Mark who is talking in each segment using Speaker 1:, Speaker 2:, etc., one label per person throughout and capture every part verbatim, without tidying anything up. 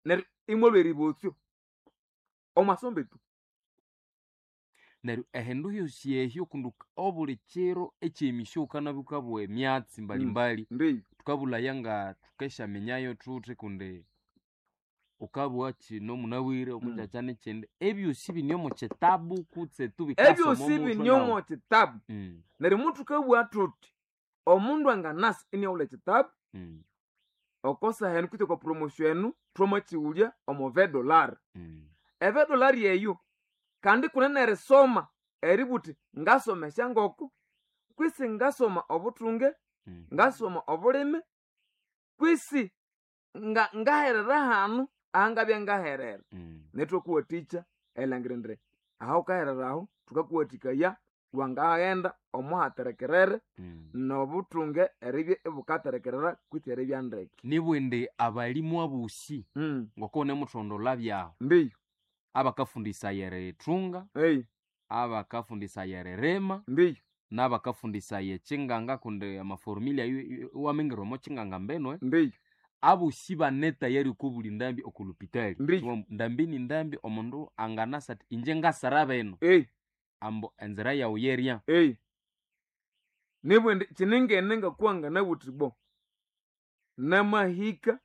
Speaker 1: Neryo imwalwa eribotsyo omwasombe tu.
Speaker 2: Neryo ehindu hyosi ehyo kundi obuli kiro ekyemisyo wukanabya wukabugha emyatsi mbalimbali.
Speaker 1: Ndiyo.
Speaker 2: Thukabulhaya nga thukesyaminyayo thuthi kundi wukabugha kino munabwire omukyakya nekyindi, ebyosi bine omo kitabu kutse tu bikasoma
Speaker 1: Ebyosi
Speaker 2: omuthwe
Speaker 1: bine
Speaker 2: nawu.
Speaker 1: omo kitabu.
Speaker 2: Mm,
Speaker 1: Neryo muthukabugha thuthi omundu anganasa iniaghulha ekitabu
Speaker 2: mm,
Speaker 1: oko saha enu kutse okwa promotion enu thwamakighulya omo ve dollar.
Speaker 2: mm,
Speaker 1: Eve dollar eyo kandi kunene erisoma eributhi ngasoma esyangoko kwisi ngasoma obuthunge,
Speaker 2: mm.
Speaker 1: ngasoma obulimi kwisi nga ngaherera hanu ahangabya ngaherera.
Speaker 2: Mm.
Speaker 1: Nethwakuwathikya erilhangira indi aha wukaherera aho thukakuwathikaya wangaghenda omuhaterekerere
Speaker 2: Mm.
Speaker 1: nobuthunge eribya ibukaterekerera kwitsi eribya ndeke.
Speaker 2: Nibwindi abalimu abosi
Speaker 1: Mm.
Speaker 2: ngoko wunemuthondolha byahu
Speaker 1: Ndiyo.
Speaker 2: abakafundisaya erithunga,
Speaker 1: Ei.
Speaker 2: abakafundisaya eririma,
Speaker 1: Ndiyo.
Speaker 2: n'abakafundisaya ekyinganga kundi amaformula ayo iwamingira omo kyinganga mbinu.
Speaker 1: Ndiyo.
Speaker 2: Abosi bane tayari okwa buli ndambi oko lupitali.
Speaker 1: Ndiyo.
Speaker 2: Ndambi ni ndambi omundu anganasa athi inje ngasara bino
Speaker 1: Ei.
Speaker 2: ambu enzira yawu yerya.
Speaker 1: Ei. Nibwindi kyiningene ngakuwa nganabuthi bo namahika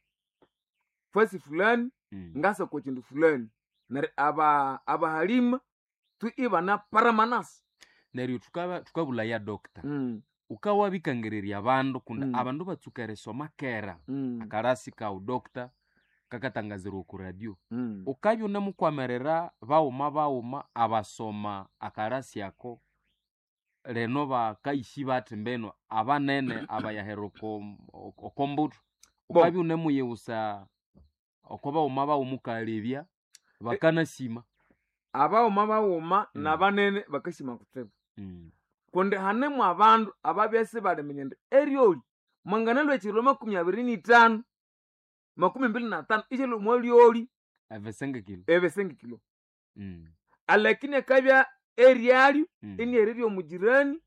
Speaker 1: fasi fulani
Speaker 2: Mm.
Speaker 1: ngasa kwa kindu fulani neryo aba abahalima tu ibana paramanasi.
Speaker 2: Neryo thukaba thukabulhaya doctor,
Speaker 1: Mm.
Speaker 2: wukawabikangirirya abandu kundi
Speaker 1: Mm.
Speaker 2: abandu batsuka erisoma kera
Speaker 1: Mm.
Speaker 2: akarasi kawu doctor kakatangazirwa oku radio.
Speaker 1: Mm.
Speaker 2: Wukabya wunemukwamirira baghuma baghuma abasoma akarasi ako lino bakayisi bathi mbinu abanene abayahera oko oko mbuthu,
Speaker 1: Bo.
Speaker 2: wukabya wunemuyiwusa oko baghuma baghuma wukalebya bakanasima.
Speaker 1: Abaghuma baghuma
Speaker 2: Mm.
Speaker 1: nabanene bakasima kutsibu.
Speaker 2: Mm.
Speaker 1: Kundi hanemu abandu ababya isibaliminya indi eryoli mwanganalwa ekiro makumi abiri nithanu makumi mbili na tanu isyalwa omwa lyoli
Speaker 2: Ebisengekilo.
Speaker 1: ebisengekilo.
Speaker 2: Mm.
Speaker 1: Alakini akabya eryalyo
Speaker 2: Mm.
Speaker 1: iniahererya omugirani,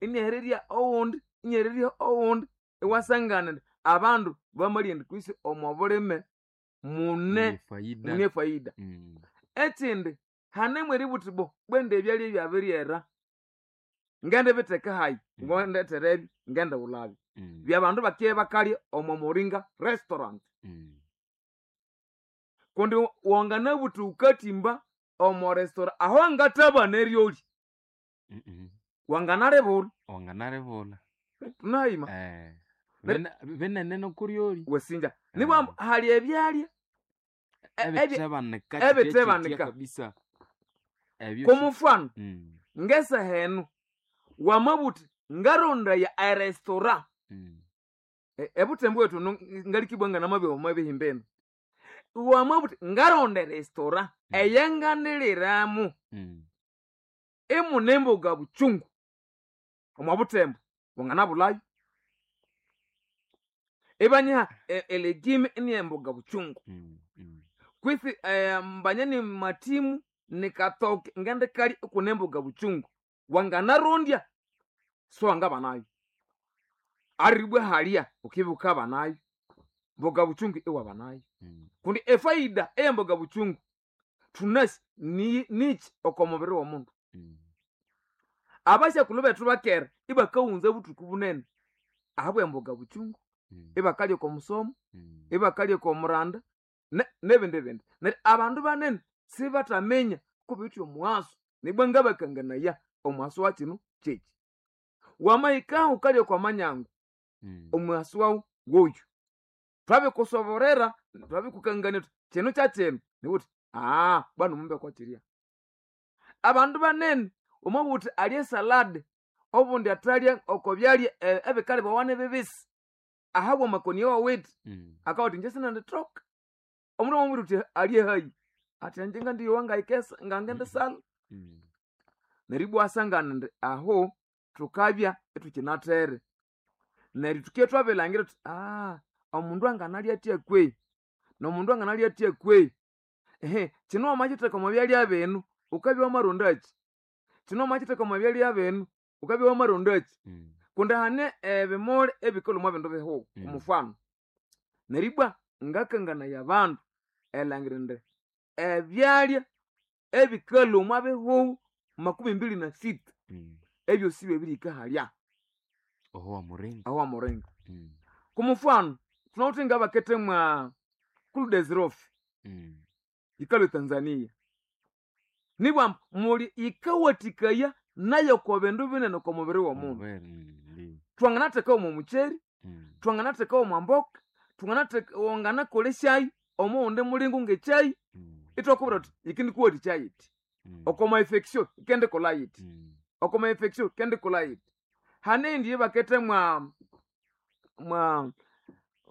Speaker 1: iniahererya owundi, iniahererya owundi, iwasangana indi abandu bamalya indi kwisi omo bulime mune
Speaker 2: Mune faida.
Speaker 1: mune faida.
Speaker 2: Mm.
Speaker 1: Ekindi hanemu eributhi bo bwende ebyalya ebyabiryera ngendibitheka hayi,
Speaker 2: Mm.
Speaker 1: ngondetherebyo ngendighulabyo.
Speaker 2: Mm.
Speaker 1: Byabandu bakye bakalya omo Moringa restaurant.
Speaker 2: Mm.
Speaker 1: Kundi wanganabuthi wukathimba omo restaurant aho angathabana eryoli
Speaker 2: Mm -mm.
Speaker 1: wanganalibulha.
Speaker 2: Wanganalibulha.
Speaker 1: Tunahima.
Speaker 2: Eh.
Speaker 1: Ner-
Speaker 2: Bene- binene nokuryoli.
Speaker 1: Wasinja. Nibwa hali ebyalya e- ebi-
Speaker 2: Ebitebanika kitya
Speaker 1: ebitebanika.
Speaker 2: kitya kabisa. Ebyo
Speaker 1: Komufano
Speaker 2: Mm.
Speaker 1: ngesaha enu wamabuthi ngarondaya erestaurant
Speaker 2: Mm.
Speaker 1: E- ebuthembu bwethu nu- ngalikibwa nganamabya omwabihimba enu wamabuthi ngaronda erestaurant
Speaker 2: Mm.
Speaker 1: eyanganiliramu
Speaker 2: Mm.
Speaker 1: imune emboga buchungu omwa buthembu wanganabulhayo ibanyiha e- elegime ini emboga buchungu.
Speaker 2: Mm. Mm.
Speaker 1: Kwisi eh, mbanya ni matimu nikatoke ngendikali ikune emboga buchungu wanganarondya so wangabanayo aribwe halya ukibya ukabanayo mboga buchungu iwabanayo.
Speaker 2: Mm.
Speaker 1: Kundi efaida eyemboga buchungu thunasi ni nichi oko mubiri w'omundu.
Speaker 2: Mm.
Speaker 1: Abasyakulhu bethu bakera ibakawunza buthuku bunene ahabwa emboga buchungu.
Speaker 2: Mm.
Speaker 1: Ibakalya oko musomo,
Speaker 2: Mm.
Speaker 1: ibakalya oko muranda ne- nebindi bindi. Neryo abandu banene sibathaminya kubiwithe omughaso nibwa ngabakanganaya omughaso wa kino kyeki. Wamahikaho wukalya okwa manyangu
Speaker 2: Mm.
Speaker 1: omughaso wawu woyu twabikusoborera twabikukangania thuthi kino kyakyino niwuthi aa bwanu mumbe kwakirya. Abandu banene wamabugha wuthi alye esalad obundi athalya oko byalya e- ebikalibwawa nibibisi ahabwa amakoni awawithe.
Speaker 2: Mm.
Speaker 1: Akabugha athi inje sinendithoka omundu amamubwira wuthi alye hayi athi ingye ngandiyowa ngayikesa ngangendisalha.
Speaker 2: Mm.
Speaker 1: Neryo ibwa iwasangana indi aho thukabya ithukinathere neryo thuke thwabilangira thuthi aa omundu anganalya athya kwehi nomundu anganalya athya kwehi ehe kino wamakitheka omwa byalya binu wukabya wamarondakyi kino wamakitheka omwa byalya binu wukabya wamarondakyi.
Speaker 2: Mm.
Speaker 1: Kundi hane ebimuli ebikalhwa omwa bindu bihugho.
Speaker 2: Mm.
Speaker 1: Omufano neryo ibwa ngakanganaya abandu. elangira indi ebyalya ebikalha omwa bihugho makumi mbili na sita
Speaker 2: Mm.
Speaker 1: ebyosi byabirihika halya
Speaker 2: Oho wa muringa.
Speaker 1: aho wamuringa
Speaker 2: Mm.
Speaker 1: kumufano tunawithe ngabakete mwa kuludesirofi
Speaker 2: Mm.
Speaker 1: yikalwa etanzania nibwa muli yikawathikaya nayo ko bindu binene oko mubiri w'omundu
Speaker 2: Omubiri, mm, ndi.
Speaker 1: twanganatheka omo mukyeri
Speaker 2: Mm.
Speaker 1: twanganatheka omo mboka twanganatheka wanganakolesyayo omuwundi mulingo ngekyayi
Speaker 2: Mm.
Speaker 1: itwakubwira thuthi yikindikuwathikya yiti
Speaker 2: Mm.
Speaker 1: okoma infection ikendikolha yiti
Speaker 2: Mm.
Speaker 1: okoma infection ikendikolha yiti hane eyindi yebakete mwa mwa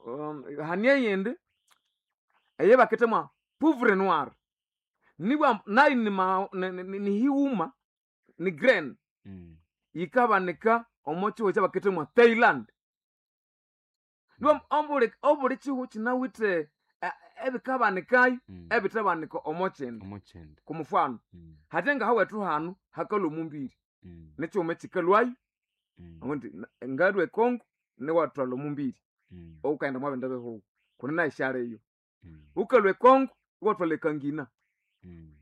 Speaker 1: um, hane eyindi eyebakete mwa poivre noir nibwa nayo ni ma- ni- ni- ni highuma ni grain
Speaker 2: Mm.
Speaker 1: yikabanika omo kihugho kyabakete mwa Thailand nibwa obuli obuli kihugho kinawithe eh, ebikabanikayo
Speaker 2: Mm.
Speaker 1: ebithabanika omo kindi
Speaker 2: Omukyende.
Speaker 1: kumufano
Speaker 2: Mm.
Speaker 1: hate ngahawethu hanu hakalwa omumbiri
Speaker 2: Mm.
Speaker 1: nikyuma ekikalwayo
Speaker 2: Mm.
Speaker 1: omundi ngalwa ekongo niwathwalha omumbiri
Speaker 2: Mm.
Speaker 1: oukaghenda mwabindi bihugho kundi nayo syaliyo
Speaker 2: Mm.
Speaker 1: wukalwa ekongo iwathwalha ekangina
Speaker 2: Mm.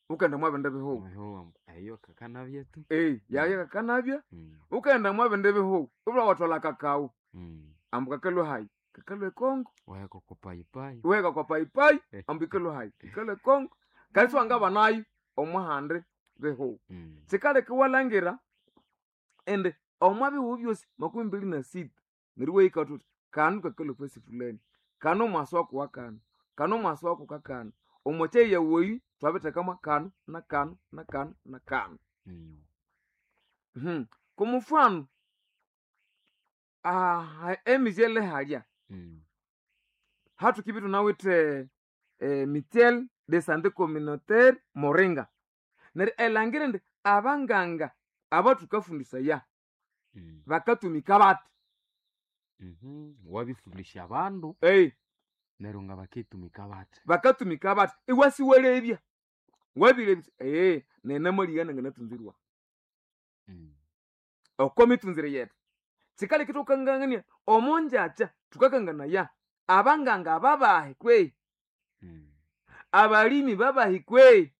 Speaker 1: wukaghenda mwabindi bihugho
Speaker 2: Oho, eyo kakanabyetu.
Speaker 1: ei yayo kakanabya
Speaker 2: Mm.
Speaker 1: wukaghenda mwabindi bihugho ibulha wathwalha kakao
Speaker 2: Mm.
Speaker 1: ambu kakalwa hayi kakalwa ekongo
Speaker 2: Waheka kwa payipayi.
Speaker 1: iwaheka kwa payipayi ambu ikalwa hayi ikalwa ekongo kandi siwangabanayo omuhandi bihugho
Speaker 2: Mm.
Speaker 1: sikaleka iwalhangira indi omwa bihugho byosi makumi mbili na sita neryo iwahika thuthi kanu kakalwa fasi fulani kanu omwasi waku kanu kanu omwasi waku kakanu omwa kyayi yawoyi twabithekamu kanu na kanu na kanu na kanu
Speaker 2: Mm.
Speaker 1: Mhm. Kumufano ah, emizyele halya
Speaker 2: Mm.
Speaker 1: hathukibya thunawithe eh, mutuelle de santé communautaire moringa neryo elangira indi abanganga abathukafundisaya
Speaker 2: Mm.
Speaker 1: bakatumika bathi
Speaker 2: Mhm. Wabifundisha abandu
Speaker 1: ei
Speaker 2: neryo nga baketumika bathi.
Speaker 1: bakatumika bathi iwasiwalebya wabilebya ee nenamalya nanganatunzirwa
Speaker 2: Mm.
Speaker 1: oko mitunzire yethu sikaleka thukangangania omonjakya thukakanganaya abanganga babahi kwehi
Speaker 2: Mm.
Speaker 1: abalimi babahi kwehi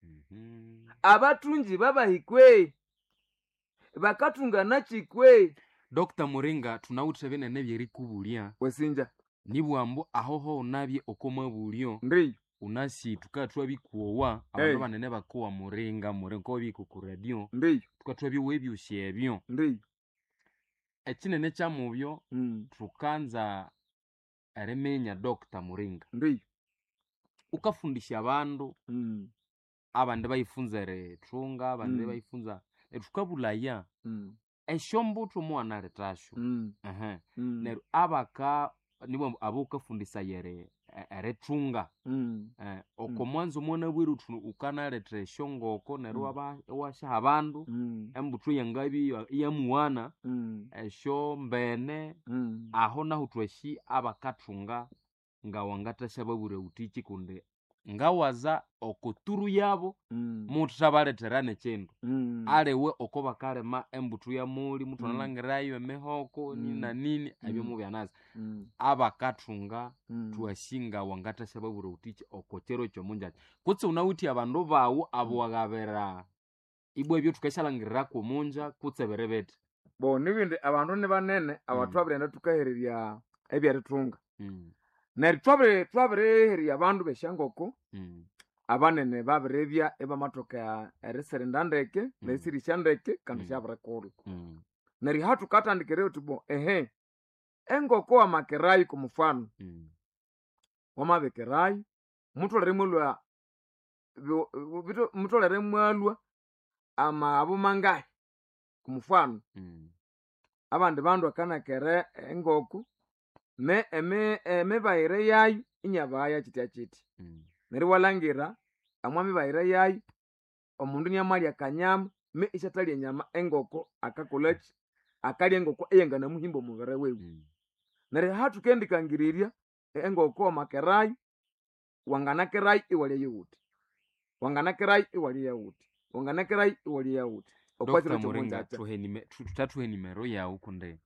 Speaker 2: Mhm.
Speaker 1: abathungi babahi kwehi bakathunganaki kwehi
Speaker 2: Dr. Muringa thunawithe binene byerikubulya
Speaker 1: wesinja
Speaker 2: nibwambu ahoho unabye oko mabulyo
Speaker 1: ndiyo
Speaker 2: unasi tukathwabikuowa abandu
Speaker 1: Hey.
Speaker 2: banene bakowa muringa muringa obiko ku radio
Speaker 1: ndiyo
Speaker 2: tukathwabyowa ebyosi ebyo
Speaker 1: ndiyo
Speaker 2: ekinene kyamubyo
Speaker 1: mm.
Speaker 2: thukanza eriminya Dr. Muringa
Speaker 1: ndiyo
Speaker 2: ukafundisha abandu
Speaker 1: mm.
Speaker 2: abandi bayifunza erithunga abandi
Speaker 1: Mm.
Speaker 2: bayifunza thukabulaya
Speaker 1: mm.
Speaker 2: esyombuthu muwanalethasyo
Speaker 1: mm.
Speaker 2: ehe
Speaker 1: mm.
Speaker 2: neryo abaka nibo abukafundisaya eri- e- erithunga
Speaker 1: mm.
Speaker 2: eh, oko mwanzo mwana bwiru uthu ukanaletha esyongoko neryo
Speaker 1: Mm.
Speaker 2: waba- iwasyaha abandu
Speaker 1: mm.
Speaker 2: embuthu yangabi iyamuwana
Speaker 1: mm.
Speaker 2: esyombene
Speaker 1: mm.
Speaker 2: aho nahu thwasi abakathunga ngawangathasya babwira wuthiki kundi ngawaza okoturu yabo
Speaker 1: mm.
Speaker 2: muthabalethera nekindu
Speaker 1: mm.
Speaker 2: aliwe oko bakalima embuthu yamuli
Speaker 1: Mm.
Speaker 2: muthwanalangirayo emihoko nini
Speaker 1: Mm.
Speaker 2: na nini ebyo
Speaker 1: Mm.
Speaker 2: mubyanasi
Speaker 1: mm.
Speaker 2: abakathunga
Speaker 1: mm.
Speaker 2: thwasinga wangathasya babwira wuthiki oko kyero kyomunjakya kutse wunawithe abandu bawu abo wagabira ibwa ebyo thukasyalangirirako omunja kutse biri bithi
Speaker 1: bo nibindi abandu ni banene abathwabirighenda thukahererya ebyerithunga
Speaker 2: Mm,
Speaker 1: neryo twabiri twabirihererya abandu besyangoko
Speaker 2: mm,
Speaker 1: abanene babiribya ibamathoka erisirinda ndeke nerisirisya ndeke kandi
Speaker 2: Mm.
Speaker 1: syabirikulha
Speaker 2: mm,
Speaker 1: neryo hathukatandikira uthi bo ehe engoko wamakerayo kumufano
Speaker 2: mm,
Speaker 1: wamabikirayo mutholere mwalwa byo- bito- mutholere mwalwa amaghabo mangahi kumufano
Speaker 2: mm,
Speaker 1: abandi bandu akanakere engoko me emi- emibayire yayo inyabaya kitya kiti
Speaker 2: mm,
Speaker 1: neryo iwalhangira omwa mibayire yayo omundu niamalya akanyama me isyathalya enyama engoko akakolhaki akalya engoko eyanganamuhimba omubiri wiwe
Speaker 2: mm.
Speaker 1: neryo hathukendikangirirya engoko wamakerayo wanganakerayo iwalya yowuthi wanganakerayo iwalya yawuthi wanganakerayo iwalya yawuthi
Speaker 2: Dr.
Speaker 1: okwakiro
Speaker 2: Muringa
Speaker 1: kyomunjakya
Speaker 2: thuhe nime- thu- thuthathuhe nimero yawu kundi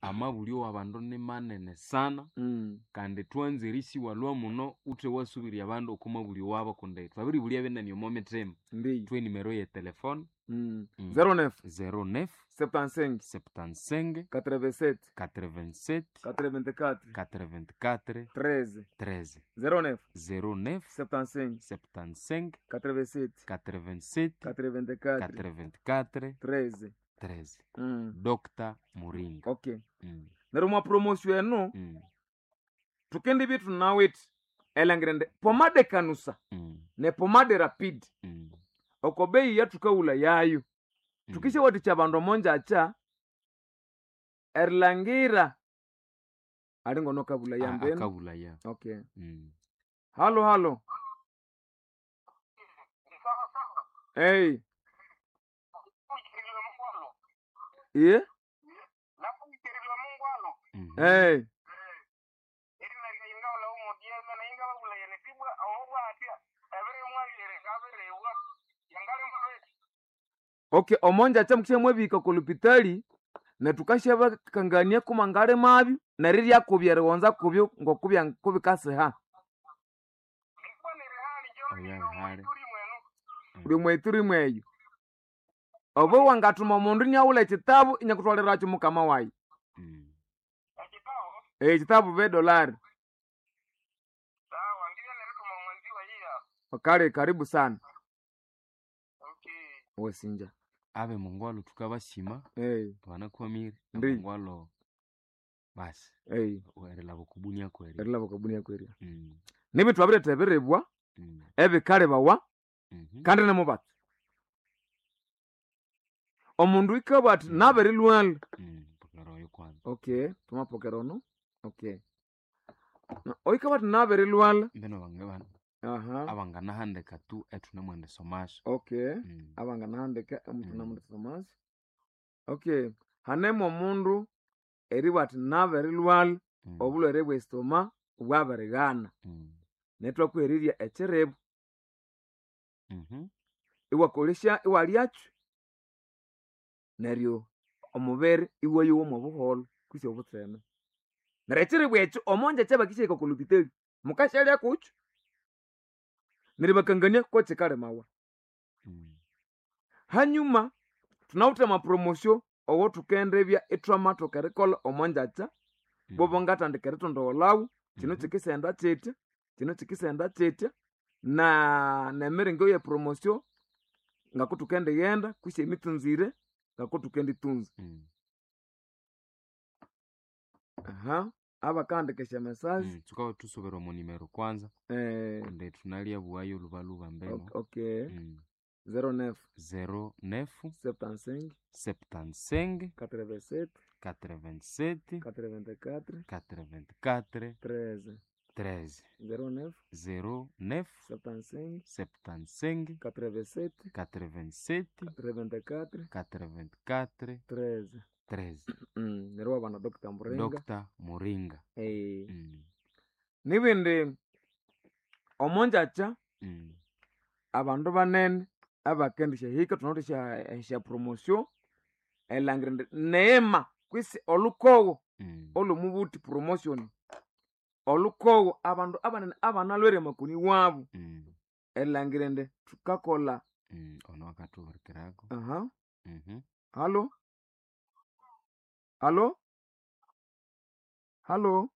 Speaker 2: Amabulyo w'abandu ni manene sana
Speaker 1: Mm.
Speaker 2: kandi twanzire isiwalwa muno uthe wasubirya abandu oko mabulyo wabo kundi twabiribulya binene omo mithima.
Speaker 1: Ndiyo.
Speaker 2: Thwe nimero ye telefone
Speaker 1: Mm.
Speaker 2: Mm.
Speaker 1: zero neuf
Speaker 2: zero neuf
Speaker 1: septante-cinq
Speaker 2: septante-cinq
Speaker 1: quatre-vingt-sept
Speaker 2: quatre-vingt-sept
Speaker 1: quatre-vingt-quatre
Speaker 2: quatre-vingt-quatre
Speaker 1: treize
Speaker 2: treize
Speaker 1: zero neuf
Speaker 2: zero neuf
Speaker 1: septante-cinq
Speaker 2: septante-cinq
Speaker 1: quatre-vingt-sept
Speaker 2: quatre-vingt-sept
Speaker 1: quatre-vingt-quatre
Speaker 2: quatre-vingt-quatre
Speaker 1: treize
Speaker 2: treize.
Speaker 1: Mm.
Speaker 2: Doctor Muringa.
Speaker 1: Okay.
Speaker 2: Mm.
Speaker 1: Neryo mwa promotion eno
Speaker 2: Mm.
Speaker 1: tukendibya thunawithe elangira indi pomade kanusa
Speaker 2: Mm.
Speaker 1: ne pomade rapid
Speaker 2: Mm.
Speaker 1: oko bei yathukawula yayo
Speaker 2: Mm.
Speaker 1: tukishawathikya abandu omonjakya erilangira ali ngono kabula
Speaker 2: A-
Speaker 1: yambeno.
Speaker 2: akabula ya.
Speaker 1: Okay.
Speaker 2: Mm.
Speaker 1: Halo halo. Hey. Iye?
Speaker 2: Mhm.
Speaker 1: Hey. Okay, omonjakya mukishamwabihika okolupitali netukashabakangania kumangale mabyo nerirya kubya erighonza kubyo ngokubya kubikasiha.
Speaker 2: Oya rihali.
Speaker 1: Buli mwethu rimweyo. Obo wangathuma omundu iniaghulha ekitabu inyakuthwalirakyo mukama wayi.
Speaker 2: Mm.
Speaker 1: Ekitabu bedolari. Kale karibu sana. Wesinja.
Speaker 2: Abe mungwalo tukabasima
Speaker 1: Hey,
Speaker 2: banakwamire
Speaker 1: Ndi.
Speaker 2: mungwalo basi
Speaker 1: hey,
Speaker 2: erilaba okubunia kweri.
Speaker 1: erilaba kabunia kwerya.
Speaker 2: Mm.
Speaker 1: Nibintu abiretha ebiribwa
Speaker 2: Mm.
Speaker 1: ebikalibawa
Speaker 2: Mhm.
Speaker 1: kandi nimubatsi. Omundu ikabwa athi
Speaker 2: Mm.
Speaker 1: nabirilwala.
Speaker 2: Mm. Pokera oyo kwanza.
Speaker 1: Okay, twamapokera ono. Okay. Na oikabwa athi nabirilwala.
Speaker 2: Mbeno bange bana
Speaker 1: Aha.
Speaker 2: abanganahandika tu ethunemwenda somasyo.
Speaker 1: Okay.
Speaker 2: Mm.
Speaker 1: Abanganahandika omuntu
Speaker 2: Mm.
Speaker 1: namundu somasi. Okay. Hanemu omundu eribwa athi nabirilwala
Speaker 2: Mm.
Speaker 1: obulhwere bw'esitoma bwabirighana.
Speaker 2: Mm.
Speaker 1: Nethwakuhererya ekiribu
Speaker 2: Mhm.
Speaker 1: iwakolesya iwalyakyo neryo omubiri iwayowa mwobuholho kwisi obutseme. Neryo ekiribu ekyo omonjakya bakisyaghika oko lupitali mukasyalya kukyo neryo bakangania kokikalimawa.
Speaker 2: Mm.
Speaker 1: Hanyuma thunawithe amapromosio owothukendibya ithwamathoka erikolha omonjakya
Speaker 2: Mm.
Speaker 1: bobo ngathandika erithondogholhawo kino
Speaker 2: Mhm.
Speaker 1: kikisenda kyitya kino kikisenda kyitya na nemiringo ye promosio ngakuthukendighenda kwisi emitsunzire ngakuthukenditunza.
Speaker 2: Mm.
Speaker 1: Aha, abakahandika esya message
Speaker 2: Mm. Thukabya thusubira omo nimero kwanza
Speaker 1: eh,
Speaker 2: kundi thunalyabuwayo lubaluba mbeno.
Speaker 1: ok- okay
Speaker 2: Mm.
Speaker 1: zero neuf
Speaker 2: zero neuf
Speaker 1: septante-cinq
Speaker 2: septante-cinq
Speaker 1: quatre-vingt-sept
Speaker 2: quatre-vingt-sept
Speaker 1: quatre-vingt-quatre
Speaker 2: quatre-vingt-quatre
Speaker 1: treize
Speaker 2: treize.
Speaker 1: zero neuf
Speaker 2: zero neuf
Speaker 1: septante-cinq
Speaker 2: septante-cinq
Speaker 1: quatre-vingt-sept
Speaker 2: quatre-vingt-sept
Speaker 1: quatre-vingt-quatre
Speaker 2: quatre-vingt-quatre
Speaker 1: treize.
Speaker 2: treize.
Speaker 1: Mm, neryo wabana Doctor Muringa.
Speaker 2: Doctor Muringa.
Speaker 1: Eh.
Speaker 2: Mm.
Speaker 1: Nibindi omonjakya
Speaker 2: Mm.
Speaker 1: abandu banene abakendisya thunawithe esya esya promosio erilhangira indi neema kwisi olhukogo
Speaker 2: Mm.
Speaker 1: olwomubuthi promotion olhukogo abandu abanene abanalhwere amakoni wabu
Speaker 2: Mm.
Speaker 1: erilhangira indi thukakolha.
Speaker 2: Mm. Ono akathuhurikirako.
Speaker 1: Aha.
Speaker 2: Mhm.
Speaker 1: Halo halo halo.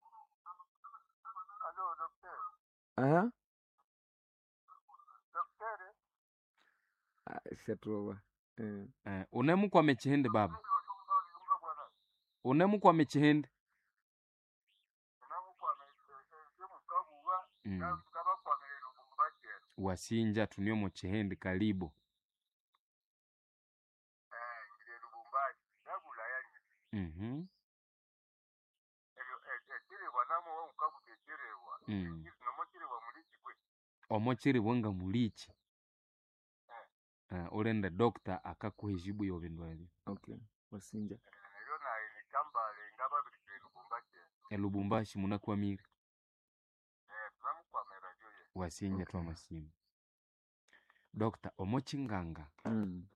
Speaker 1: Aha. Ah, syathuba. Eh.
Speaker 2: Eh, unemukwama ekihindi baba? Unemukwama ekihindi? Mm. Wasinja thune omo kihindi kalibo. Mhm. Mm. Omo kiribwa nga mulikyi. Eh, ulinde doctor akakuha ejibu y'ebindu ebyo.
Speaker 1: Okay, wasinja.
Speaker 2: Elubumbashi munakwamire. Wasinja
Speaker 1: Okay.
Speaker 2: twamasima. Doctor, omo kinganga
Speaker 1: Mm.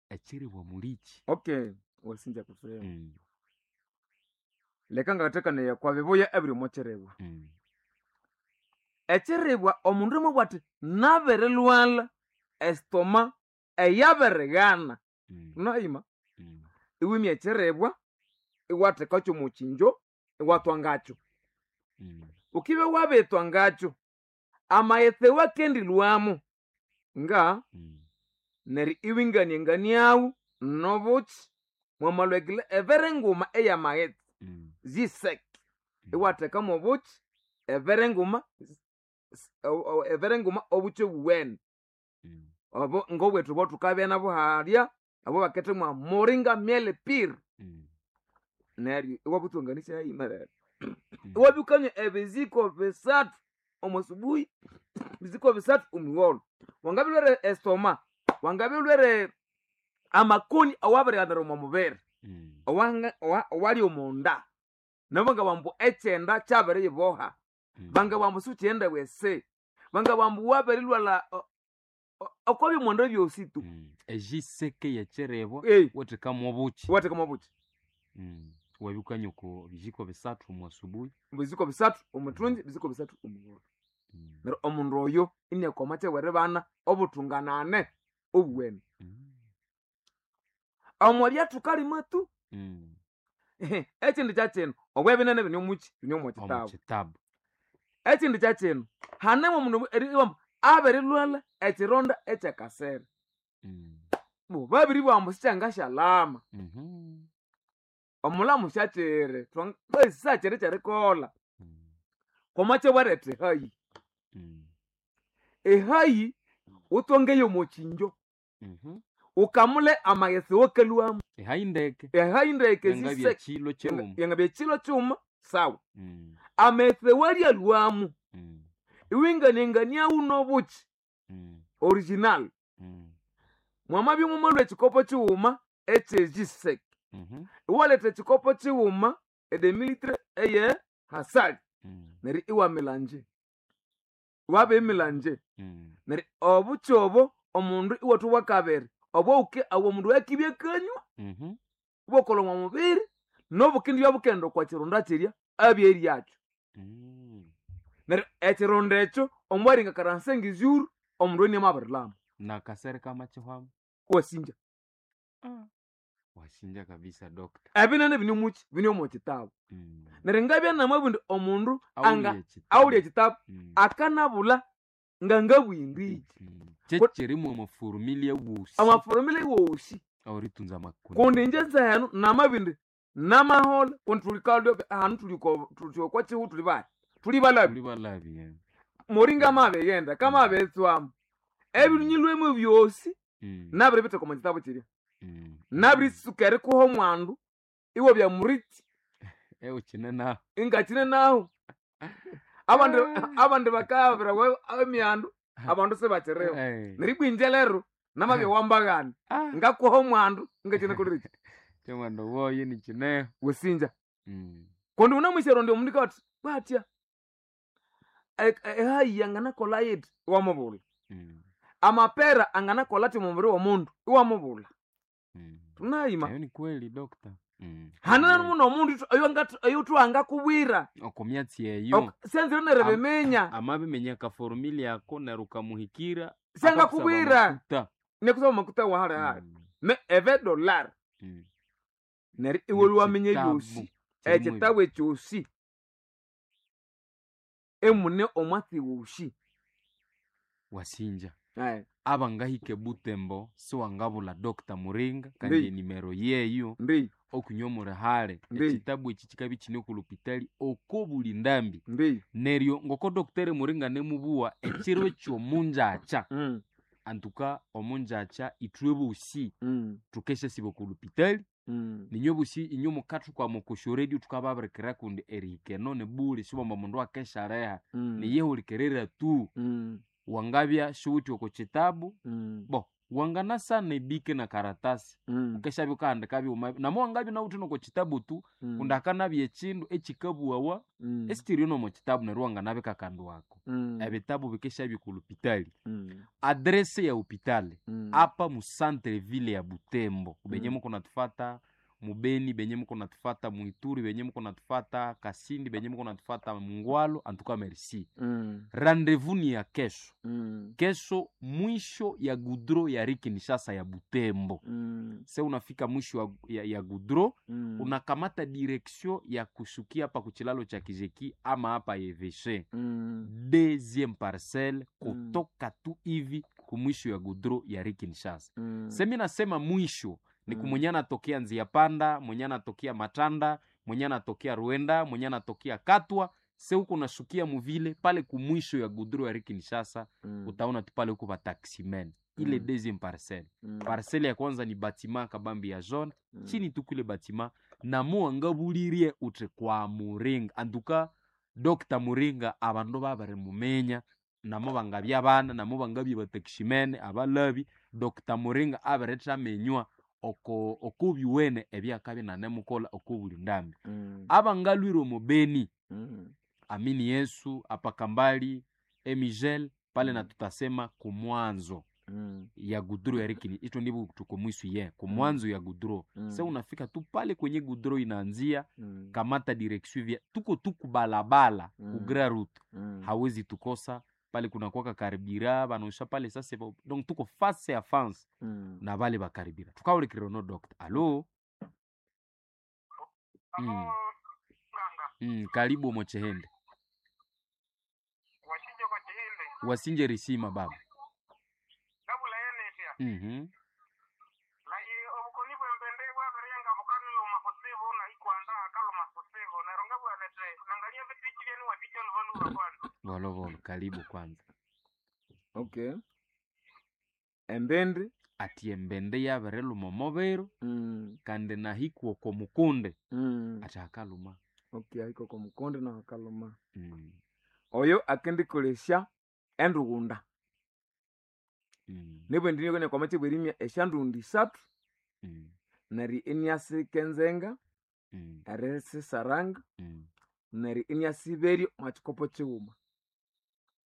Speaker 2: ekiribwa mulikyi.
Speaker 1: Okay, wasinja kutsema.
Speaker 2: Mm.
Speaker 1: Leka ngathekaneya kwa bibuya ebiri omo kiribwa.
Speaker 2: Mm.
Speaker 1: Ekiribwa omundu mwabugha athi nabirilhwalha estoma eyabirighana.
Speaker 2: Mm.
Speaker 1: Tunayima
Speaker 2: Mm.
Speaker 1: iwimya ekiribwa iwathekakyo omo kinjo iwathwa ngakyo.
Speaker 2: Mm.
Speaker 1: Ukibya wabithwa ngakyo amaghetse wakendilhwamo nga
Speaker 2: Mm.
Speaker 1: neryo iwinganianganiawo nobuki mwamalhwekile ebere nguma eyamaghetse
Speaker 2: Mm.
Speaker 1: ziseke
Speaker 2: Mm.
Speaker 1: iwathekamo obuki ebere nguma s- o- o- ebere nguma obuki obuwene
Speaker 2: Mm.
Speaker 1: obo ngobwethu obo thukabya nabo halya abo bakethemwa moringa miel pure
Speaker 2: Mm.
Speaker 1: neryo iwabuthwanganisya hayimerere
Speaker 2: Mm.
Speaker 1: iwabikanywa ebiziko bisathu omo subuhi, biziko bisathu omugholo. Wangabilwere estoma, wangabilwere amakoni awabirighanira omo mubiri
Speaker 2: Mm.
Speaker 1: owanga- owa- owali omonda nabo ngabambu ekyenda kyabiriyiboha
Speaker 2: Mm.
Speaker 1: bangabambu sikyenda wese bangabambu wabirilwala o- o- okwabyomonda byosi tu.
Speaker 2: Mm. Ejiseke yekirebwa
Speaker 1: Ei,
Speaker 2: wathekamu obuki.
Speaker 1: wathekamu obuki.
Speaker 2: Mm. Wabikanywa oko bijiko bisathu omu asubuhi.
Speaker 1: Biziko bisathu omuthungi, biziko bisathu omugholo.
Speaker 2: Mm.
Speaker 1: Neryo omundu oyo iniakoma kyeweri bana obuthunganane obuwene.
Speaker 2: Mm.
Speaker 1: Omo byathukalima tu.
Speaker 2: Mm.
Speaker 1: Ekindi kyakyino obwebinene bini omuki bini omu
Speaker 2: Omu
Speaker 1: kitabu.
Speaker 2: kitabu.
Speaker 1: Ekindi kyakyino hanemu omundu eribamba abirilwalha ekironda ekyakasere.
Speaker 2: Mm.
Speaker 1: Bo babiribugha ambu sikyangasyalama.
Speaker 2: Mhm.
Speaker 1: Omulamu syakyiri sakyiri kyerikolha.
Speaker 2: Mm.
Speaker 1: Kwamakyabwaretha ehayi.
Speaker 2: Mm.
Speaker 1: Ehayi wuthongeyo omo kinjo
Speaker 2: Mhm.
Speaker 1: ukamule amaghetse wakalhwamu.
Speaker 2: Ehayi ndeke.
Speaker 1: Ehayi ndeke
Speaker 2: Yangabya
Speaker 1: ziseke
Speaker 2: kilo kighuma.
Speaker 1: yangabya kilo kighuma sawa.
Speaker 2: Mm.
Speaker 1: Amaghetse walyalhwamu
Speaker 2: Mm.
Speaker 1: iwinganianganiawo nobuki
Speaker 2: Mm.
Speaker 1: original.
Speaker 2: Mm.
Speaker 1: Mwamabya mwamalhwa ekikopo kighuma ekyejiseke
Speaker 2: Mhm.
Speaker 1: iwaletha ekikopo kighuma edemilitre eye hasali
Speaker 2: Mm.
Speaker 1: neryo iwamilanje iwabimilanje.
Speaker 2: Mm.
Speaker 1: Neryo obuki obo omundu iwathwa bwakabiri obwawuke abo omundu akibya akanywa
Speaker 2: Mhm.
Speaker 1: ibwakolha omwa mubiri nobukindibya bukenda okwa kironda kirya abyeryakyo.
Speaker 2: Mm.
Speaker 1: Neryo ekironda ekyo omwaringa karansenga izuru omundu iniamabirilhama.
Speaker 2: Nakasere kamakihwamu.
Speaker 1: Wasinja.
Speaker 2: Wasinja kabisa doctor.
Speaker 1: Ebinene bini omuki bini omo kitabu.
Speaker 2: Mm.
Speaker 1: Neryo ngabya namabindi omundu anga
Speaker 2: Awulye ekitabu.
Speaker 1: awulya ekitabu
Speaker 2: Mm.
Speaker 1: akanabulha ngangabwindiki.
Speaker 2: Mm. Kyekirimu amafurumili wosi.
Speaker 1: Amafurumili wosi.
Speaker 2: Awuritunza amakoni.
Speaker 1: Kundi inje nzehenu namabindi namahola kundi thulikalya ahanu thuliko thuthi okwa kihu thuli bahi thuli balabi.
Speaker 2: Tuli balabi eh.
Speaker 1: Moringa amabighenda kamabiritswamo ebinyilwemo byosi
Speaker 2: Mm.
Speaker 1: nabiribitheka omo kitabu kirya.
Speaker 2: Mm.
Speaker 1: Nabiritsuka erikuha omwandu iwabya muriti
Speaker 2: Ewe kine naho.
Speaker 1: ingakine nahu. Abandi abandi bakabirawa emyandu abandu sibakiriho.
Speaker 2: Eh.
Speaker 1: Neryo ibwa inje lero namabya wambaghana
Speaker 2: Ah.
Speaker 1: ngakuha omwandu ingakine kuliriki.
Speaker 2: Kyomwandu woyo nikineho.
Speaker 1: Wasinja.
Speaker 2: Mm.
Speaker 1: Kundi wunamusyarondya omundu ikathi bwatya ehayi anganakolha yithi iwamubulha.
Speaker 2: Mm.
Speaker 1: Amapera anganakolha athi omubiri w'omundu iwamubulha.
Speaker 2: Mm.
Speaker 1: Tunayima.
Speaker 2: Eyo ni kweli doctor. Mm.
Speaker 1: Hanana muno omundu oyuthuwangakubwira.
Speaker 2: Oko myatsi eyo.
Speaker 1: Ok- Syanzire neryo
Speaker 2: Am-
Speaker 1: biminya.
Speaker 2: Amabiminya akaforumili ako neryo ukamuhikira
Speaker 1: Syangakubwira.
Speaker 2: akakusaba
Speaker 1: Nekusaba makuta wahali hali.
Speaker 2: Mm.
Speaker 1: Me eve dollar.
Speaker 2: Mm.
Speaker 1: Neryo iwe lwaminya
Speaker 2: Ekitabu
Speaker 1: ebyosi.
Speaker 2: kirimu
Speaker 1: Ekitabu ekyosi. Emune omwatsi wosi.
Speaker 2: Wasinja.
Speaker 1: Aye.
Speaker 2: Abangahika ebutembo siwangabulha Doctor Muringa kandi
Speaker 1: Ndi.
Speaker 2: enimero yeyo
Speaker 1: Ndi.
Speaker 2: okunywa omurihale.
Speaker 1: Ndi.
Speaker 2: Ekitabu eki kikabya kine oku lupitali oko buli ndambi.
Speaker 1: Ndi.
Speaker 2: Neryo ngoko Doctor Muringa nemubuwa ekiro ekyomunjakya
Speaker 1: Mm.
Speaker 2: antuka omunjakya ithwe bosi
Speaker 1: Mm.
Speaker 2: thukeshasiba oku lupitali
Speaker 1: Mm.
Speaker 2: ninywe bosi inywe mukathukwama oko syoredio thukababirikira kundi erihika eno nibuli sibwamba omundu akeshaleha
Speaker 1: Mm.
Speaker 2: niyehulikerera tu.
Speaker 1: Mm.
Speaker 2: Wangabya siwuthi oko kitabu
Speaker 1: Mm.
Speaker 2: bo wanganasana ebike na karatasi
Speaker 1: Mm.
Speaker 2: ukeshabya ukahandika byuma namo wangabya nawuthi noko kitabu tu
Speaker 1: Mm.
Speaker 2: kundi akanabya ekindu ekikabuwawa
Speaker 1: Mm.
Speaker 2: esikiriyo nomo kitabu neryo wanganabika akandu ako.
Speaker 1: Mm.
Speaker 2: Ebitabu bikeshabya oku lupitali.
Speaker 1: Mm.
Speaker 2: Adrese ya hopitali
Speaker 1: Mm.
Speaker 2: apa mu centre ville ya Butembo kubenye
Speaker 1: Mm.
Speaker 2: muko natufata Mubeni benye muko natufata, Muituri benye muko natufata, Kasindi benye muko natufata, Mungwalo, antuka merci.
Speaker 1: Mm.
Speaker 2: Rendez-vous ni ya kesho.
Speaker 1: Mm.
Speaker 2: Kesho mwisho ya gudro ya Ri Kinshasa ya Butembo.
Speaker 1: Mm.
Speaker 2: Se unafika mwisho ya, ya, ya gudro
Speaker 1: Mm.
Speaker 2: unakamata direction ya kushukia hapa kuchilalo cha Kijeki ama hapa Eveshe
Speaker 1: Mm.
Speaker 2: deuxième parcelle
Speaker 1: Mm.
Speaker 2: kutoka tu hivi kumwisho ya gudro ya Ri Kinshasa.
Speaker 1: Mm.
Speaker 2: Semi nasema mwisho ni
Speaker 1: Mm.
Speaker 2: kumwenye anatokea Nzia Panda, mwenye anatokea Matanda, mwenye anatokea Ruenda, mwenye anatokea Katwa, se huko nashukia muvile pale kumwisho ya gudro ya Ri Kinshasa
Speaker 1: Mm.
Speaker 2: utaona tu pale huko bataximen ile
Speaker 1: Mm.
Speaker 2: deuxième parcelle.
Speaker 1: Mm.
Speaker 2: Parcelle ya kwanza ni batima kabambi ya jaune
Speaker 1: Mm.
Speaker 2: chini tu kule batima namuwangabulirie uti kwa Muringa antuka Dr Muringa abandu babarimumenya namo bangabya abana namo bangabya batakishimene abalabi Dr Muringa abiritamenywa oko okubyuwene ebyakabya nanemukola okubuli ndambi
Speaker 1: Mm.
Speaker 2: abangalwire omubeni
Speaker 1: Mm.
Speaker 2: amini Yesu apakambali emigel pale
Speaker 1: Mm.
Speaker 2: na tutasema kumwanzo
Speaker 1: Mm.
Speaker 2: ya gudro ya rikini ito ndivyo tuko mwisu ye kumwanzo ya gudro
Speaker 1: Mm.
Speaker 2: se unafika tu pale kwenye gudro inaanzia
Speaker 1: Mm.
Speaker 2: kamata direction vya tuko tu kubalabala
Speaker 1: Mm.
Speaker 2: ku grand route
Speaker 1: Mm.
Speaker 2: hawezi tukosa pale kuna kwaka karibira banaosha pale sasa ba- donc tuko face ya face
Speaker 1: Mm.
Speaker 2: na bale bakaribira tukawulikirira no doctor alo mm. Mm, karibu mochehende
Speaker 3: Washinje kwa chihinde
Speaker 2: wasinje risima baba
Speaker 3: kabula yenetya
Speaker 2: mm-hmm.
Speaker 3: naye obukoni bwembende bwabirenga bukaliluma kutsibu nahikwanda akaluma kutsibu neryo ngabwanete nangalia bitiki byenu watikya lubaluba kwanza
Speaker 2: volovolo karibu kwanza
Speaker 1: Okay. Embindi.
Speaker 2: ati embende yabiriluma omubiro
Speaker 1: Mm.
Speaker 2: kandi nahikwa oko mukunde
Speaker 1: Mm.
Speaker 2: ati akaluma
Speaker 1: Okay, ahiko kwa mukonde na akaluma.
Speaker 2: mm.
Speaker 1: Oyo akendikolesya endughunda.
Speaker 2: Mm.
Speaker 1: Nibwo ndini kwamache bwerimya esyandughunda isathu
Speaker 2: Mm.
Speaker 1: neryo iniasika enzenga
Speaker 2: Mm.
Speaker 1: erisisaranga
Speaker 2: Mm.
Speaker 1: neryo iniasiberya omwa kikopo kighuma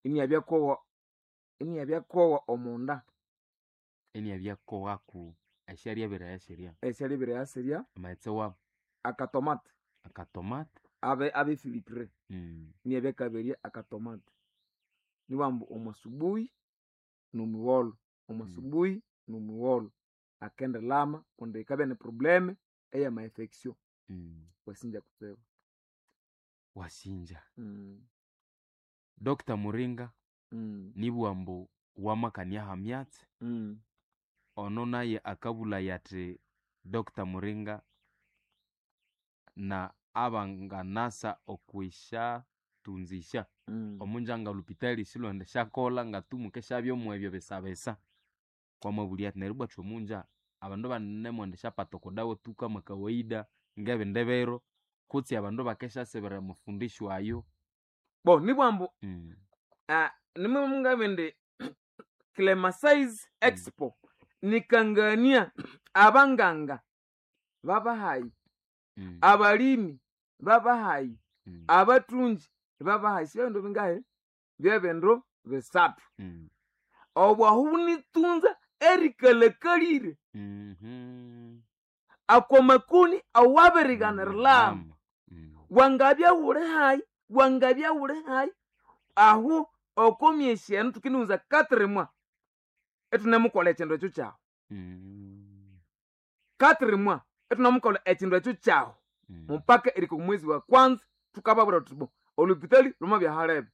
Speaker 1: iniabyakowa iniabyakowa omunda
Speaker 2: eniabyakowaku esyaryabira yasirya
Speaker 1: esyalibira yasirya
Speaker 2: amaghetse wamu
Speaker 1: akatomate
Speaker 2: akatomate
Speaker 1: abe abefilitire
Speaker 2: mm.
Speaker 1: iniabyakaberya akatomate niwambu omwasubuhi nomugholo omwasubuhi nomugholo akendilama kundi yikabya ni probleme eyama infection
Speaker 2: Mm.
Speaker 1: wasinja kutsibu.
Speaker 2: Wasinja
Speaker 1: Mm.
Speaker 2: Dr Muringa
Speaker 1: Mm.
Speaker 2: nibwambu wamakania hamyatsi
Speaker 1: Mm.
Speaker 2: ono naye akabulaya ati Dr Muringa na abanganasa okwishatunzisha
Speaker 1: Mm.
Speaker 2: omunja nga lupitali silonde syakolha ngatumuke syabyomu ebyo besabesa kwamabulya ati neryo bwathu omunja abandu banemwenda syapata okodawa tu kama kawaida ngebindi biro kutsi abandu bakesyasibira mufundisho ayo
Speaker 1: Bo nibwambu
Speaker 2: mm.
Speaker 1: ah, nimwe Clemasize Expo nikangania abanganga babahayi
Speaker 2: Mm.
Speaker 1: abalimi babahayi
Speaker 2: Mm.
Speaker 1: abatungi babahayi sibya bingahe byebindu bisathu
Speaker 2: Mm.
Speaker 1: obwahu bunitunza erikalakalire
Speaker 2: Mhm.
Speaker 1: akwa makoni awabiriganiriramu
Speaker 2: Lama. Mm.
Speaker 1: wangabya wuli hayi wangabya wuli hayi ahu okomyesi enu tukindiwunza katrimwa itunemukolha ekindu ekyo kyawu
Speaker 2: Mm.
Speaker 1: katrimwa itunemukolha ekindu ekyo kyawu
Speaker 2: Mm.
Speaker 1: mupaka erika omwezi wa kwanza tukababwira tuti bo olupitali lwamabya halebe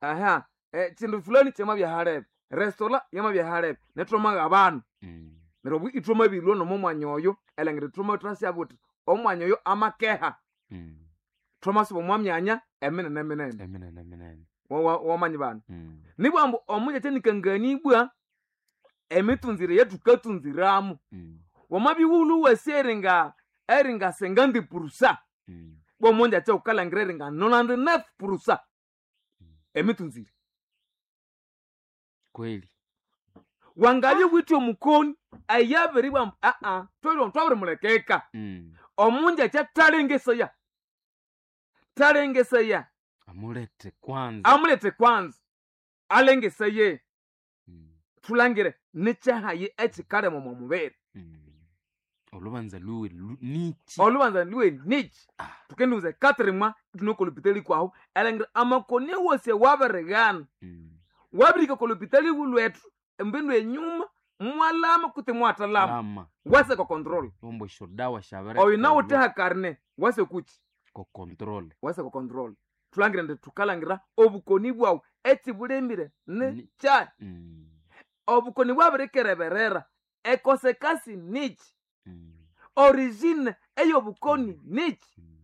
Speaker 1: aha ekindu fulani kyamabya halebe restola yamabya halebe netwamaga abanu
Speaker 2: Mm.
Speaker 1: neryo obu ithwamabirwa nomo mwanya oyo elangira ithwama thwasyaba uthi omwanya oyo amakeha
Speaker 2: Mm.
Speaker 1: thwamasiba omwa myanya eminene minene
Speaker 2: Eminene minene.
Speaker 1: wamanyi banu
Speaker 2: Mm.
Speaker 1: nibwambu omunja kyanikanganibwa emitunzire yethukatunziramu
Speaker 2: Mm.
Speaker 1: wamabiwulu wasi eringa eringa sengandi purusa
Speaker 2: Mm.
Speaker 1: bwomunja kyaukalangira eringa nonandi nefu purusa emitunzire
Speaker 2: Kweli.
Speaker 1: wangabye withe omukoni ayabiribwambu aa twalwa twabirimulekeka
Speaker 2: Mm.
Speaker 1: omunja kyathalengesaya thalengesaya
Speaker 2: Amulete kwanza.
Speaker 1: amulete kwanza alengesaye
Speaker 2: Mm.
Speaker 1: thulangire nikyahayi ekikalema omwa mubiri
Speaker 2: Mm. Olubanza lwiwe lu- niki?
Speaker 1: Olubanza lwiwe niki?
Speaker 2: Ah.
Speaker 1: Tukendiwuza quatre mois ithune kolopitali kwahu erilhangira amakoni awosi awabirighana.
Speaker 2: Mm.
Speaker 1: Wabirihika kolopitali lwethu embindu enyuma mwalama kutse mwathalama.
Speaker 2: Lama.
Speaker 1: Wase ko control.
Speaker 2: Ombo esyodawa syabiri
Speaker 1: Oyo nawuthe hakarne wase kuki?
Speaker 2: ko control.
Speaker 1: Wase ko control. Thulangira indi thukalangira obukoni bwawu ekibulemire
Speaker 2: Ni-
Speaker 1: ni kyahi.
Speaker 2: Mm.
Speaker 1: Obukoni bwabirikereberera ekosekasi niki?
Speaker 2: Mm.
Speaker 1: Origine ey'obukoni niki?
Speaker 2: Mm.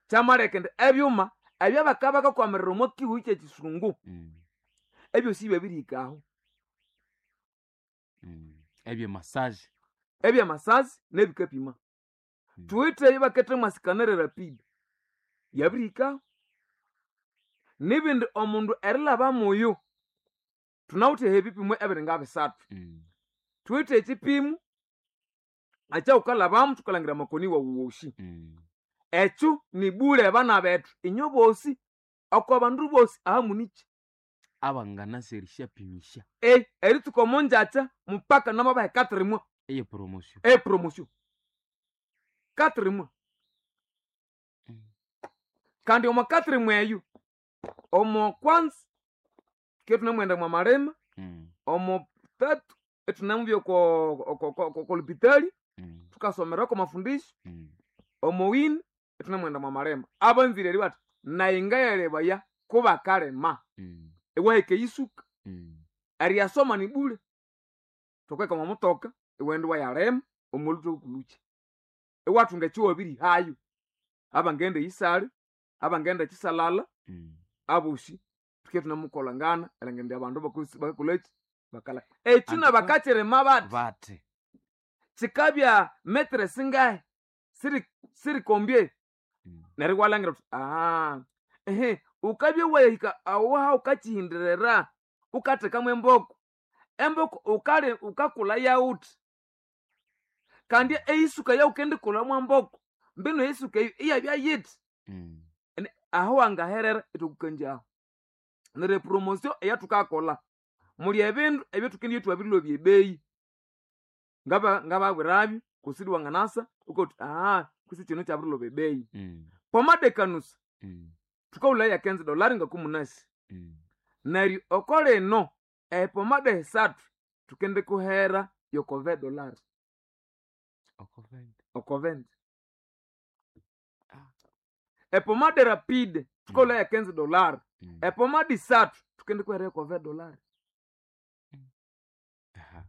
Speaker 1: Kyamaleka indi ebyuma ebyabakabakakwamirira omo kihuhu kyekisungu
Speaker 2: Mm.
Speaker 1: ebyosi byabirihika aho.
Speaker 2: Mm. Ebye massage.
Speaker 1: Ebyamasazi nebikapima.
Speaker 2: Mm.
Speaker 1: Thuwithe ebibaketha mwasikanere rapid yabirihikaho. Nibindi omundu erilhaba muyu thunawithe ebipimo ebiri ngabisathu.
Speaker 2: Mm.
Speaker 1: Thuwithe ekipimo ekyawukalhabamu thukalhangira amakoni wawu wosi.
Speaker 2: Mm.
Speaker 1: Ekyo nibule abana bethu inyo bosi oko bandu bosi ahamuniki.
Speaker 2: Abanganasa erisyapimisya.
Speaker 1: E eritsuka omongyakya mupaka namabaha quatre mois
Speaker 2: Eye promotion.
Speaker 1: e promotion. Quatre mois.
Speaker 2: Mm.
Speaker 1: Kandi omo quatre mois eyo omo kwanza ke thunemwenda mwa malima,
Speaker 2: Mm.
Speaker 1: omo tatu ithunemubya oko oko- oko- okolopitali
Speaker 2: Mm.
Speaker 1: thukasomerako amafundisho,
Speaker 2: Mm.
Speaker 1: omo wini ithunemwenda mwa malima. Abanzire eri bathi nayi ngayalebaya kubakalima.
Speaker 2: Mm.
Speaker 1: Iwahika eyisuka
Speaker 2: Mm.
Speaker 1: eriyasoma nibule thukagheka omwa mutoka iwaghenda iwayalima omwolhuthwa wukulhukya. Iwathunga ekyiwabirihayo. Abangaghenda eyisale, abangaghenda ekisalala,
Speaker 2: Mm.
Speaker 1: abosi thuke thunemukolhangana erilhangira indi abandu bakosi bakakolhaki bakalha. Ekyi
Speaker 2: Antuka-
Speaker 1: nabakakyirima bathi
Speaker 2: Bathi.
Speaker 1: kikabya metere singahi siri sirikombye
Speaker 2: Mm.
Speaker 1: neryo iwalhangira wuthi aha ehe wukabya wahika aho wukakyihindirira wukathekamu emboko, emboko wukali wukakulha yawuthi kandi eyisuka eyawukendikulha mwamboko mbinu eyisuka eyo iyabya yithi.
Speaker 2: Mm.
Speaker 1: Ene aho wangaherera ithwakukanjaho. Neryo epromotion eyathukakolha muli ebindu ebyathukendibya ithwabirilhobya ebeyi ngaba ngababwirabyo kusudi wanganasa wukabuwa wuthi aha kwisi kino kyabirilhoba ebeyi.
Speaker 2: Mm.
Speaker 1: Pomade ekanusa
Speaker 2: Mm.
Speaker 1: thukawulha ya quinze dolari ngakumunasi.
Speaker 2: Mm.
Speaker 1: Neryo oko lino epomade esathu thukendikuhera yoko vingt dolari.
Speaker 2: Oko venti.
Speaker 1: Oko venti.
Speaker 2: Ah.
Speaker 1: Epomade rapide thukawulha ya quinze dolari.
Speaker 2: Mm.
Speaker 1: Epomade isathu thukendikuhera yoko vingt dolari.
Speaker 2: Aha.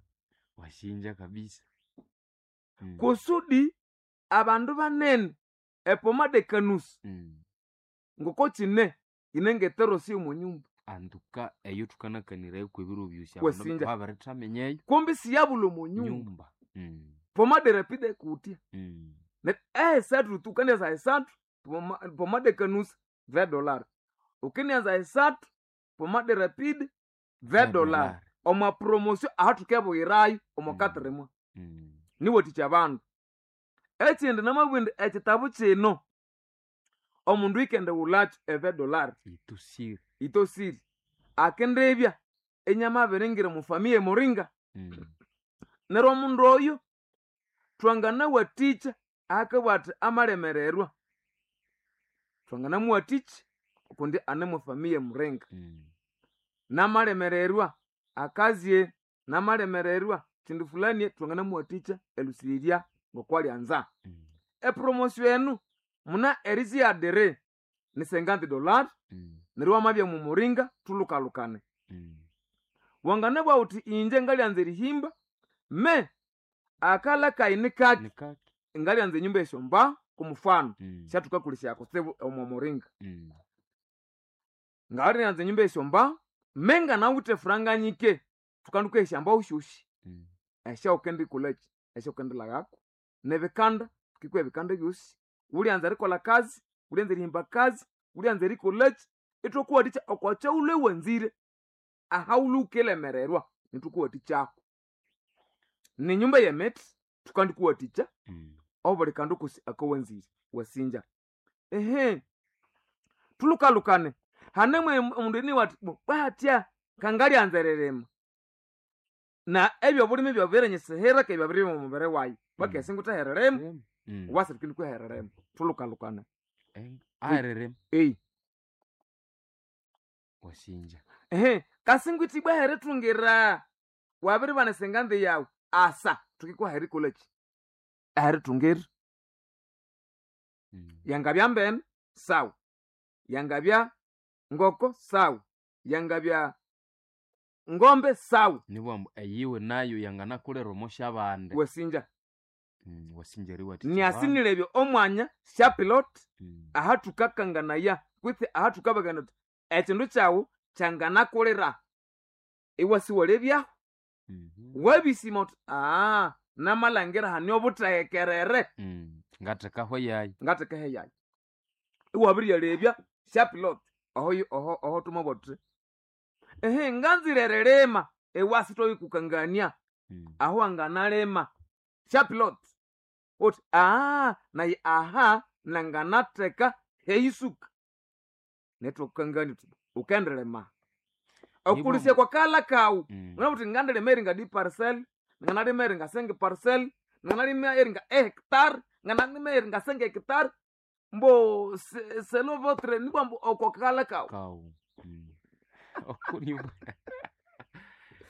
Speaker 2: Washinja kabisa. Mm.
Speaker 1: Kusudi abandu banene epomade ekanusa
Speaker 2: Mm.
Speaker 1: ngoko kine yine ngeterosi omo nyumba.
Speaker 2: Antuka eyo thukanakanirayo kwebiro byosi abandu
Speaker 1: Wasinja.
Speaker 2: babirithaminya
Speaker 1: Kumbi siyabulha omo nyumba.
Speaker 2: nyumba. Mm.
Speaker 1: Pomade rapide kutya.
Speaker 2: Mm.
Speaker 1: Neryo ehesathu thukandianza esathu poma- pomade ekanusa vingt dolari. Wukendianza esathu pomade rapide vingt dolari. Omwa promotion ahathukebuyirayo omo
Speaker 2: Mm.
Speaker 1: quatre mois.
Speaker 2: Mm.
Speaker 1: Niwathikya abandu. Ekindi namabugha indi ekitabu kino omundu ikendighulhakyo e vingt dolari.
Speaker 2: Itosire.
Speaker 1: Itosire. Akendibya inyamabiringira omo familia emuringa.
Speaker 2: Mm.
Speaker 1: Neryo omundu oyo thwanganawathikya akabugha athi amalemererwa thwanganamuwathikya kundi ane mwa familia emuringa.
Speaker 2: Mm.
Speaker 1: Namalemererwa akazye, namalemererwa kindu fulani thwanganamuwathikya erilhusirirya ngokwalyanza.
Speaker 2: Mm.
Speaker 1: Epromotion enu muna eriziyadere ni cinquante dolari
Speaker 2: Mm.
Speaker 1: neryo wamabya mu muringa thulhukalhukane.
Speaker 2: Mm.
Speaker 1: Wanganabugha wuthi inje ngalyanza erihimba me akalha kayi nikaki
Speaker 2: Nikaki.
Speaker 1: ngalyanza enyumba esyombaho kumufano
Speaker 2: Mm.
Speaker 1: syathukakolesya kutsibu omo muringa.
Speaker 2: Mm.
Speaker 1: Ngalyanza enyumba esyombaho me nganawithe efuranga nyike thukanduka esyambaho syosi
Speaker 2: Mm.
Speaker 1: esyawukendikolhaki esyawukendilhaghako nebikanda thukikuha ebikanda ebyosi wulyanza erikolha kazi wulyanza erihimba kazi wulyanza erikolhaki ithwakuwathikya okwakyawulwe wanzire ahawulwe wukilemererwa nithukuwathikyako. Ninyumba yemithi thukandikuwathikya
Speaker 2: Mm.
Speaker 1: obuli kandu kosi akawanzire wasinja. Ehe thulhukalhukane hanemu omundu iniwa athi bo bwahatya kangalyanza eririma na ebyobulimi byabirinyisihira kebya byabiribya omo mubiri wayi. Bakese nguthe hererema.
Speaker 2: Mm.
Speaker 1: Wase tukindi kuhererema thulukalukana.
Speaker 2: Eh, ahererema.
Speaker 1: Ei.
Speaker 2: Wasinja.
Speaker 1: Ehe, kasingwithibwa herithungira wabiribana esenganzi yawu asa tukikwaherikolachi aherithungira.
Speaker 2: Mm.
Speaker 1: Yangabya mbene sawa, yangabya ngoko sawa, yangabya ngombe sawa.
Speaker 2: Nibwambu eyiwe nayo yanganakulera omosha bande.
Speaker 1: Wesinja.
Speaker 2: Mm, wasinja eriwathikya abandu.
Speaker 1: Niasinilebya omwanya syapilot
Speaker 2: Mm.
Speaker 1: ahathukakanganaya kwitsi ahathukabagana uthi ekindu kyawu kyanganakulira iwasiwalebyaho.
Speaker 2: Mhm.
Speaker 1: Wabisima uthi aa namalhangira hane obuthehekerere.
Speaker 2: Mm. Ngathekaho yayi.
Speaker 1: Ngathekehe yayi iwabiryalebya syapilot oho oho oho tumabwa thuthi ehe nganzire erilima iwasi twabikukangania.
Speaker 2: Mm.
Speaker 1: Aho wanganalima syapilot uthi aa nayi aha nanganatheka heyisuka netwakukangania uthi ukendirima okulisya kwa kala kawu.
Speaker 2: Mm.
Speaker 1: Ngana uthi ngandilima eringa di parcel, nganalima eringa senge parcel, nganalima eringa hectare, nganalima eringa senge hectare mbo se- selo votre nibwa mbo okwa kala kawu.
Speaker 2: Kawu. Mm. Oko nibwa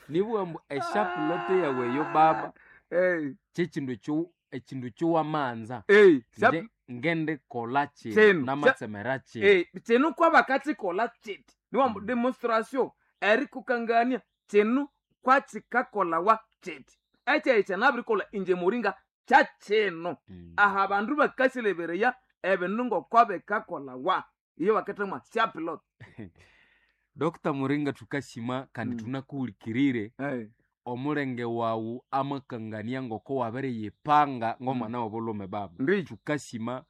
Speaker 2: nibwambu eshapulote yawe eyo baba.
Speaker 1: Hey.
Speaker 2: Kyekindu ekyo ekindu kyowamanza.
Speaker 1: Hey, syap-
Speaker 2: Nje ngende kola kino
Speaker 1: Kino.
Speaker 2: namatsemera kino.
Speaker 1: Eh, kino kwabakathikola kiti niwambu
Speaker 2: Mm.
Speaker 1: demonstration erikukangania kino kwakikakolawa kiti ekyayi kyanabirikola inje muringa kyakino.
Speaker 2: Mm.
Speaker 1: Aha bandu bakasilebereya ebindu ngokwabikakolawa iyo bakithemwa syapilot.
Speaker 2: Dr Muringa, tukashima kandi
Speaker 1: Mm.
Speaker 2: tunakuhulikirire.
Speaker 1: Hey.
Speaker 2: Omulenge wawu amakangania ngoko wabiriyipanga ng'omwana w'obulhume baba.
Speaker 1: Ndiyo.
Speaker 2: Tukashima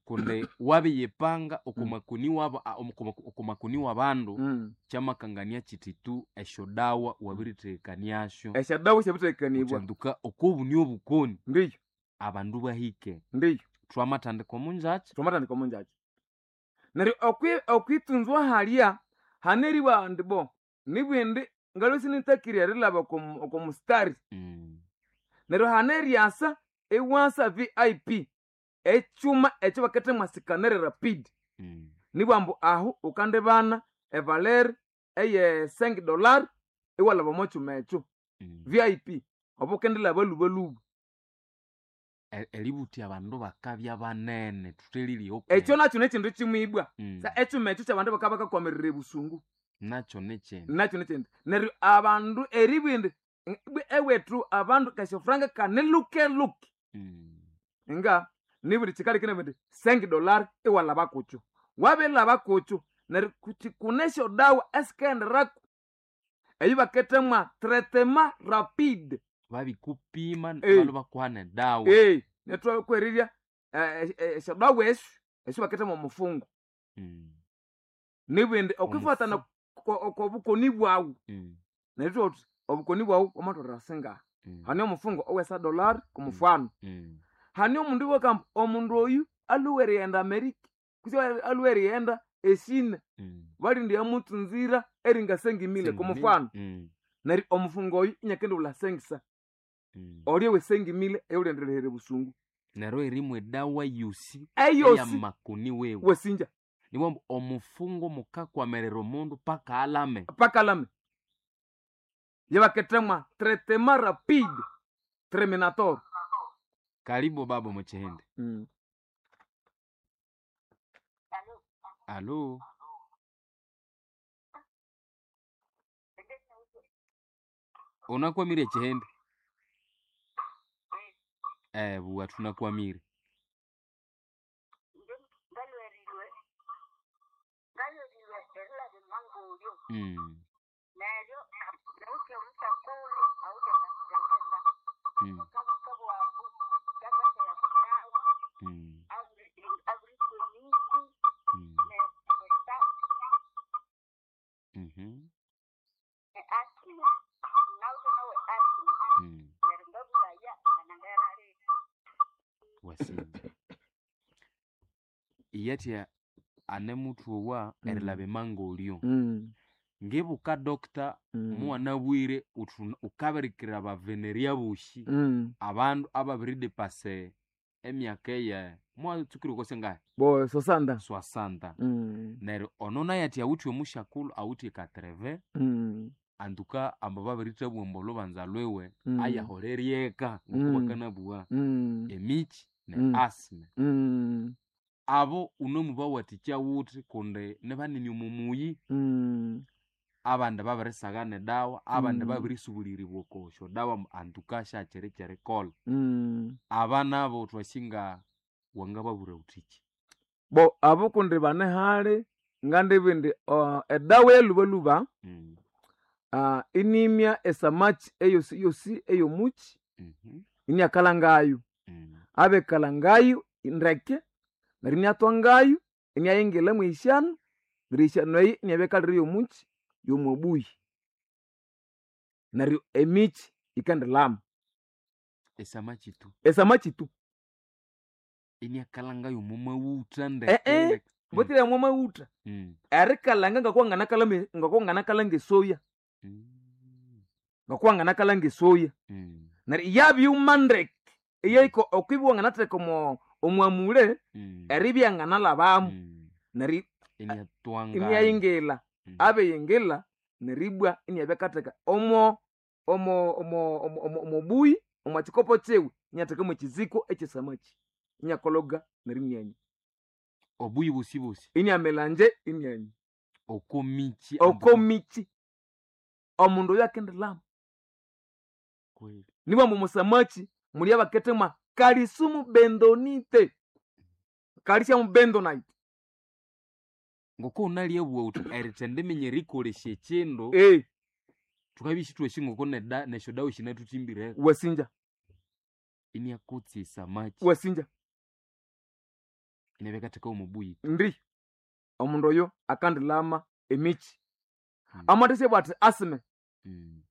Speaker 2: kundi wabiyipanga okumakuni wabo a- omu- okumakuni w'abandu.
Speaker 1: Mm.
Speaker 2: Kyamakangania kiti tu esyodawa wabirithekaniasyo.
Speaker 1: Esyadawa syabirithekanibwa.
Speaker 2: Kutsanduka okobuni obukoni.
Speaker 1: Ndiyo.
Speaker 2: Abandu bahike.
Speaker 1: Ndiyo.
Speaker 2: Twamathandika omunjakya.
Speaker 1: Twamathandika omunjakya neryo okwi- okwitunzwa halya haneriwa ndi bo nibwindi ngalwe sinitakirya erilaba okomu- okomustari.
Speaker 2: Mm.
Speaker 1: Neryo haneryasa iwasa V I P ekyuma ekyo bakethemwa sikanere rapid.
Speaker 2: Mm.
Speaker 1: Nibwambu ahu ukandibana evaleri eye cinq dollar iwalaba omo kyuma ekyo.
Speaker 2: Mm.
Speaker 1: V I P obo ukendilaba lubaluba.
Speaker 2: E- eributhya abandu bakabya banene thuthelile.
Speaker 1: Ekyo nakyo nekindu kimwibwa.
Speaker 2: Mm.
Speaker 1: Sa ekyuma ekyo kyabandu bakaba bakakwamirira ebusungu.
Speaker 2: Nakyo nekyindi.
Speaker 1: Nakyo nekyindi neryo abandu eribwindi ewethu abandu kasyofuranga kanilukeluke.
Speaker 2: Mm.
Speaker 1: Nga nibuli kikalekene bindi cinq dollar iwalaba kukyo wabilaba kukyo neryo kuti kunesyo dawa esikaenderaku eyo bakethemwa traitement rapide.
Speaker 2: Babikupima.
Speaker 1: Eh.
Speaker 2: Balwa bakuha nedawa.
Speaker 1: Ee, netwakwerirya esyodawa esyo esyo bakethemwa omufungo.
Speaker 2: Mm.
Speaker 1: Nibindi okwifatana okobukoni bwawu.
Speaker 2: Mm.
Speaker 1: Neryo thuthi obukoni bwawu wamatholera singaha.
Speaker 2: Mm.
Speaker 1: Hane omufungo owesa dollar kumufano.
Speaker 2: Mm.
Speaker 1: Hane omundu wakamba omundu oyu alhuwe erighenda Amerika kutse alhuwe erighenda eshina.
Speaker 2: Mm.
Speaker 1: Balindi yamutsunzira eringa sengimile kumufano.
Speaker 2: Mm.
Speaker 1: Neryo omufungo oyu inyakendiwulha sengisa.
Speaker 2: Mm.
Speaker 1: Olye wesengimile eyulendirehere busungu.
Speaker 2: Neryo erimwa edawa yosi
Speaker 1: eyosi
Speaker 2: eyamakoni wewe.
Speaker 1: Wesinja.
Speaker 2: Niwambu omufungo mukakwamerera omundu paka alame.
Speaker 1: Pakalame yabakethemwa traitement rapide terminator.
Speaker 2: Karibu baba muchihindi.
Speaker 1: Mm.
Speaker 2: Alo. Unakwamire chihindi eh buwa tunakwamire.
Speaker 4: Ngalwerilwe ngalwerilwe erilaba emangulyo.
Speaker 2: Mm.
Speaker 4: Neryo nawuthe omusakulu awuthe kasenga.
Speaker 2: Mm.
Speaker 4: Okabuka bwambu kamathela kudawa.
Speaker 2: Mm.
Speaker 4: Aburikonisi.
Speaker 2: Mm.
Speaker 4: Nesa.
Speaker 2: Mhm.
Speaker 4: Asima nawuthe nawe asima.
Speaker 2: Mm.
Speaker 4: Neryo ngabulaya nganangerali.
Speaker 2: Wasinja iyatya ane muthu owa
Speaker 1: Mm.
Speaker 2: erilaba emangolyo.
Speaker 1: Mm.
Speaker 2: Ngibuka dokta
Speaker 1: Mm.
Speaker 2: muwanabwire uthi ukabirikira abaveneria bosi
Speaker 1: Mm.
Speaker 2: abandu ababiridepase emyaka eye mwatsukire kose ngahi
Speaker 1: Bo sosanda.
Speaker 2: swasanta
Speaker 1: Mm.
Speaker 2: neryo ono naye athi awithe omusyakulu awithe ekatreve
Speaker 1: Mm.
Speaker 2: antuka amba babirithebwa ambu olhubanza lwiwe
Speaker 1: Mm.
Speaker 2: ayaholeryeka
Speaker 1: Mm.
Speaker 2: ngoko bakanabugha
Speaker 1: Mm.
Speaker 2: emikyi ne
Speaker 1: Mm.
Speaker 2: asthma
Speaker 1: Mm.
Speaker 2: abo unemubawathikya wuthi kundi nibanene omo muyi
Speaker 1: Mm.
Speaker 2: abandi babirisagha nedawa abandi
Speaker 1: Mm.
Speaker 2: babirisubulirirwa oko syodawa antuka syakyiri kyerikolha
Speaker 1: Mm.
Speaker 2: aba nabo thwasinga wangababwira wuthiki
Speaker 1: Bo abo kundi bane hali ngandibindi uh, edawa eyalubaluba
Speaker 2: mm.
Speaker 1: uh, inimya esamaki eyosi yosi eyomuki
Speaker 2: mhm,
Speaker 1: iniakalangayo
Speaker 2: mm.
Speaker 1: abekalangayo ndeke neryo iniathwangayo iniayingila mwisyanu neryo isyanu eyi iniabekalira yomuki yomobuyi neryo emiki yikendilama
Speaker 2: esamaki tu
Speaker 1: esamaki tu
Speaker 2: iniakalanga yomo mawutha ndeke
Speaker 1: Eh, eh.
Speaker 2: ndeke.
Speaker 1: mbotire mwa mawutha
Speaker 2: Mm.
Speaker 1: erikalanga ngakuwanganakalame ngakuwanganakalanga esoya
Speaker 2: Mm.
Speaker 1: ngakuwanganakalanga esoya
Speaker 2: Mm.
Speaker 1: neryo yabyuma ndeke eyaiko okwibya wanganatheka omo omwamule
Speaker 2: Mm.
Speaker 1: eribya nganalhabamu
Speaker 2: Mm.
Speaker 1: neryo
Speaker 2: iniatwanga
Speaker 1: iniyayingila
Speaker 2: Mm.
Speaker 1: abeyingila neribwa iniabyakatheka omo omo omo omo omo omobuyi omwa kikopo kyiwe iniatheka mwekiziko ekyesamaki iniakologa neryo inianywa
Speaker 2: obuyi bosi bosi
Speaker 1: iniamelanje inianywa
Speaker 2: oko michi
Speaker 1: okomiki omundu oyo akendilama
Speaker 2: kweli
Speaker 1: nibwa mbu musamaki muli abakethemwa kalisumu bendonite kalisiamu bendonite
Speaker 2: ngoko unalyebuwa uthi erithendiminya erikolesya ekindu
Speaker 1: eh
Speaker 2: thukabya isithwasi ngoko neda nesyodawa sinathutsimbireko
Speaker 1: wasinja
Speaker 2: iniakotsa esamaki
Speaker 1: wasinja
Speaker 2: iniabakatheka omubuyi
Speaker 1: ndi omundu oyo akandilama emiki
Speaker 2: Mm.
Speaker 1: amathesya bwati asime
Speaker 2: Mm.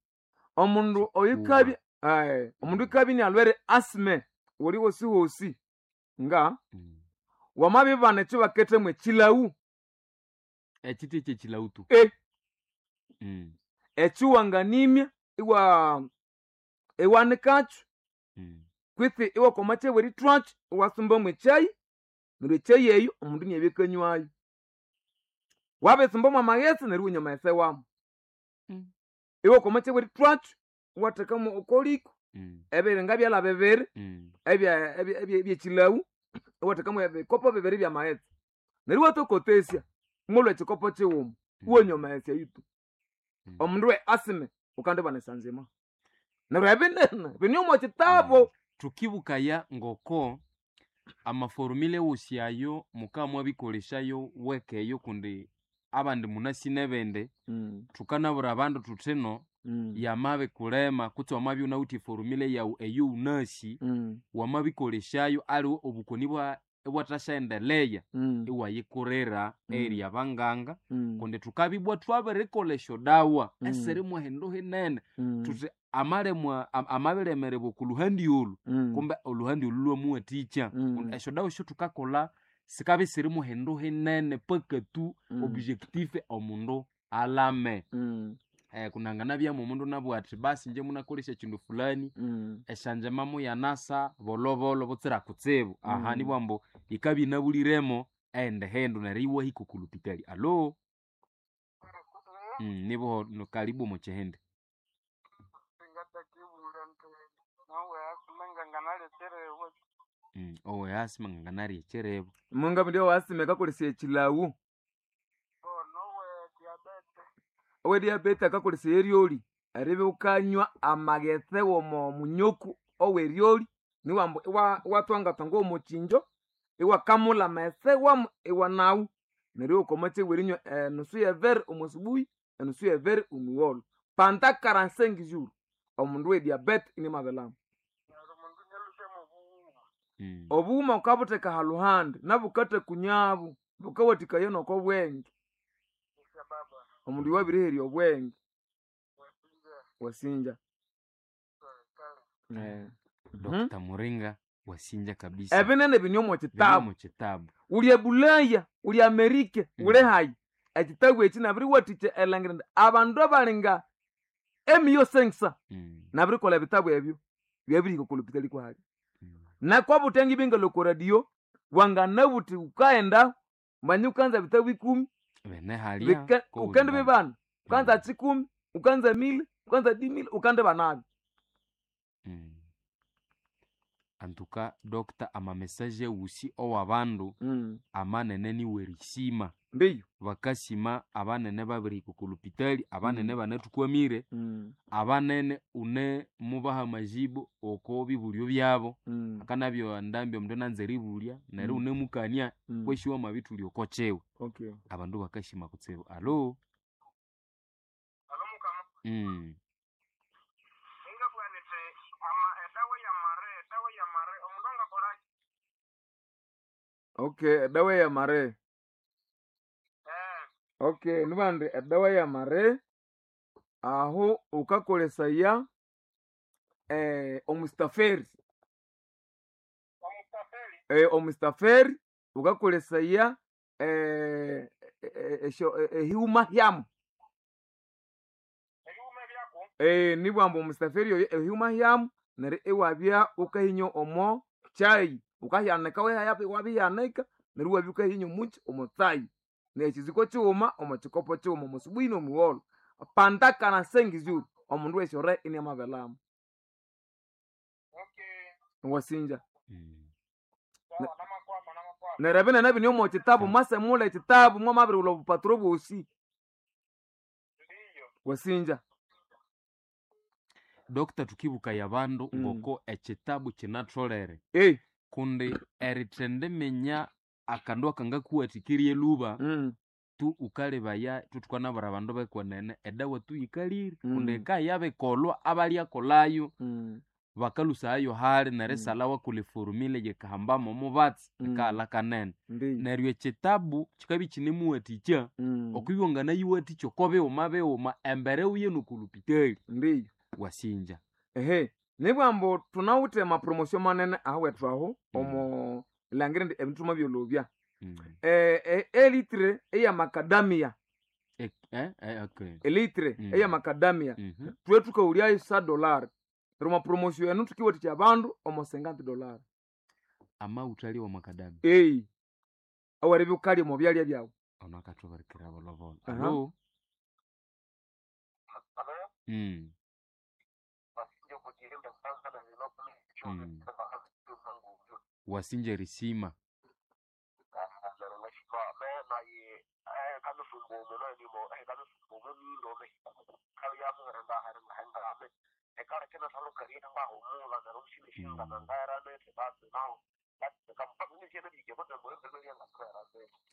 Speaker 1: omundu oyukabya aye omundu ukabya inialwere asime wuli wosi wosi nga
Speaker 2: Mm.
Speaker 1: wamabibana ekyo bakethemu ekilawu
Speaker 2: ekiti ekyekilawu tu
Speaker 1: Eh.
Speaker 2: Mm.
Speaker 1: ekiwanganimya iwa iwanikakyo
Speaker 2: Mm.
Speaker 1: kwitsi iwakoma kyebwe erithwakyo iwasumbamu ekyayi neryo ekyayi eyo omundu iniabya akanywayo wabisumbamu amaghetse neryo iwanywa amaghetse wamu
Speaker 2: Mm.
Speaker 1: iwakoma kyebwe erithwakyo iwathekamu okoliko
Speaker 2: Mm.
Speaker 1: ebiringa byalha bibiri
Speaker 2: Mm.
Speaker 1: ebya- ebya- ebya- ebyekilawu iwathekamu ebikopo bibiri byamaghetse neryo iwatokotesya mwolwa ekikopo kighuma iwanywa amaghetse ayo tu
Speaker 2: Mm.
Speaker 1: omundu we asime ukandibana esanzima neryo ebinene bini omo kitabo
Speaker 2: Thukibukaya ngoko amaforumile wosi ayo mukamwabikolesyayo wekeyo kundi abandi munasi nebindi thukanabwira abandu thuthino yamabikulema kutse wamabya wunawithe eforumile yawu eyo wunasi wamabikolesyayo aliwe obukoni bwa ibwathasyaendeleya iwayikurira
Speaker 1: Mm.
Speaker 2: eri abanganga kundi thukabibwa thwabirikolha esyodawa
Speaker 1: Mm.
Speaker 2: esiri mwahindu hinene thuthi amalemwa am- amabilemerebwa okuluhandi olu kumbe oluhandi olu lwamuwathikya
Speaker 1: Mm.
Speaker 2: Kundi esyodawa esyothukakolha sikabya isiri muhindu hinene paka tu objectif omundu alame eh, kunanganabyamu omundu nabugha athi basi inje munakolesya ekindu fulani esyanjema muyanasa bolobolo butsira kutsibu aha
Speaker 1: Mm.
Speaker 2: nibwa ambu yikabya inabuliremo ende hindu neryo iwahika oku lupitali alo mm, nibuho no- karibu omu kihindi
Speaker 3: singatakibula nti nawe asime nganganalekerewe
Speaker 2: mm, owe asima nganganarya ekyiribu
Speaker 1: munga ndio wasime akakolesya ekilawu
Speaker 3: nowe diabete
Speaker 1: owe diabete akakolesya eryoli eribya wukanywa amaghetse womo munyoku oweryoli niwambu iwa- iwathwangathwanga omukinjo iwakamulha amaghetse wamu iwanawu neryo iwakoma kyebwa erinywa enusu yevere omu subuhi enusu yevere omugholo panda karansengi juru omundu we diabete inimabilama
Speaker 3: neryo mundu nyalusya mubughuma
Speaker 2: mm.
Speaker 1: obughuma wukabutheka haluhandi nabukathakunyabu bukawathikaya nokobwenge
Speaker 3: isya baba
Speaker 1: omundu iwabiriherya obwenge
Speaker 3: wasinja
Speaker 1: wasinja
Speaker 3: kale
Speaker 1: Eh. Mhm.
Speaker 2: Dr Muringa wasinja kabisa
Speaker 1: Ebinene bini omo
Speaker 2: Biri
Speaker 1: kitabu
Speaker 2: omu kitabu
Speaker 1: uli ebulaya uli amerika
Speaker 2: Mm.
Speaker 1: uli hayi Ekitabu eki nabiriwathikya erilhangira indi abandu abalinga emiyo sengisa
Speaker 2: Mm.
Speaker 1: nabirikolha ebitabu ebyo byabirihika oko lupitali kwahali.
Speaker 2: Mm.
Speaker 1: Nakwabutya ngibingalwa oko radio wanganabuthi wukaghenda manya wukanza bitabu ikumi
Speaker 2: Bene halya
Speaker 1: bika-
Speaker 2: ko
Speaker 1: ukandi
Speaker 2: buli
Speaker 1: bibana wukanza
Speaker 2: Mm.
Speaker 1: kikumi wukanza mili wukanza dimili ukandi banabyo.
Speaker 2: Mm. Antuka dokta amamesaje wusi owabandu
Speaker 1: Mm.
Speaker 2: amanene niwerisima
Speaker 1: Mbiyo.
Speaker 2: bakasima abanene babirihika oko lupitali abanene
Speaker 1: Mm.
Speaker 2: banathukwamire
Speaker 1: Mm.
Speaker 2: abanene une mubaha amajibu oko bibulyo byabo
Speaker 1: Mm.
Speaker 2: akanabyo ndambi omundu ananza eribulya neryo
Speaker 1: Mm.
Speaker 2: unemukania
Speaker 1: Mm.
Speaker 2: kwesi wamabithulya oko kyiwe
Speaker 1: Okay.
Speaker 2: abandu bakasima kutsibu alo.
Speaker 3: Alo mukama.
Speaker 2: Mm.
Speaker 3: Ingabugha niti ama edawa yamare edawa yamare omundu angakolaki?
Speaker 1: Okay, edawa yamare.
Speaker 3: Eh,
Speaker 1: Okay, nibandi edawa yamare aho wukakolesaya eh, omustaferi.
Speaker 3: omustafeli.
Speaker 1: Eh, omustaferi wukakolesaya eh, eh, esyo- eh, ehiuma hyamu.
Speaker 3: Ebiwuma byaku.
Speaker 1: Eh, nibwamba omustaferi oyo ehiuma hyamu neryo iwabya wukahinya omo kyayi wukahyanika wabiyanika neryo iwabya wukahinya omuki omo tsayi nekiziko kighuma omo kikopo kighuma omo subuhi nomugholo pandakana sengizuru omundu wesyore iniamabelhamo.
Speaker 3: Okay.
Speaker 1: Wasinja.
Speaker 2: Mm.
Speaker 3: Sawa namakwama namakwama.
Speaker 1: Neryo ebinene bini omo kitabu mwasemulha ekitabu mwamabirighulha obupaturo bwosi.
Speaker 3: Ndiyo.
Speaker 1: Wasinja.
Speaker 2: Dokta tukibukaya abandu
Speaker 1: Mm.
Speaker 2: ngoko ekitabu kinatholere
Speaker 1: Ei.
Speaker 2: kundi erithendiminya akandu akangakuwathikirye lhuba
Speaker 1: Mm.
Speaker 2: tu ukalebaya thukanabwira abandu bekwenene edawa tu yikalire
Speaker 1: Mm.
Speaker 2: kundi eka yabikolwa abalyakolhayo
Speaker 1: Mm.
Speaker 2: bakalusayayo hali nerisalha wakolha eforumile yikahambamo omubatsi
Speaker 1: Mm.
Speaker 2: ikaghalha kanene.
Speaker 1: Ndiyo.
Speaker 2: Neryo ekitabu kikabya ikinemuwathikya
Speaker 1: Mm.
Speaker 2: okwibya wanganayiwathikya oko bighuma bighuma embere wuye nokolupitali.
Speaker 1: Ndiyo.
Speaker 2: Wasinja.
Speaker 1: Ehe, nibwambu thunawithe amapromosio manene ahawethu aho
Speaker 2: Mm.
Speaker 1: omo langira indi ebindu thwamabyolobya.
Speaker 2: Mm.
Speaker 1: Eh, eh, elitre eyamakadamia
Speaker 2: E- eh, eh, okay.
Speaker 1: elitre
Speaker 2: Mm.
Speaker 1: eyamakadamia
Speaker 2: Mhm.
Speaker 1: thwe thukaghulyayo sa dollar neryo omwa promosio enu thukiwathikya abandu omo cinquante dollar.
Speaker 2: Amawutha ali wamakadamia
Speaker 1: Ei, aweribya wukalya omo byalya byawu.
Speaker 2: ono akathubirikira bolobolo.
Speaker 1: Aha.
Speaker 2: Alo.
Speaker 3: Alo.
Speaker 2: Mm.
Speaker 3: Basinje kujirinda kwanza na
Speaker 2: Mm. Wasinja erisima.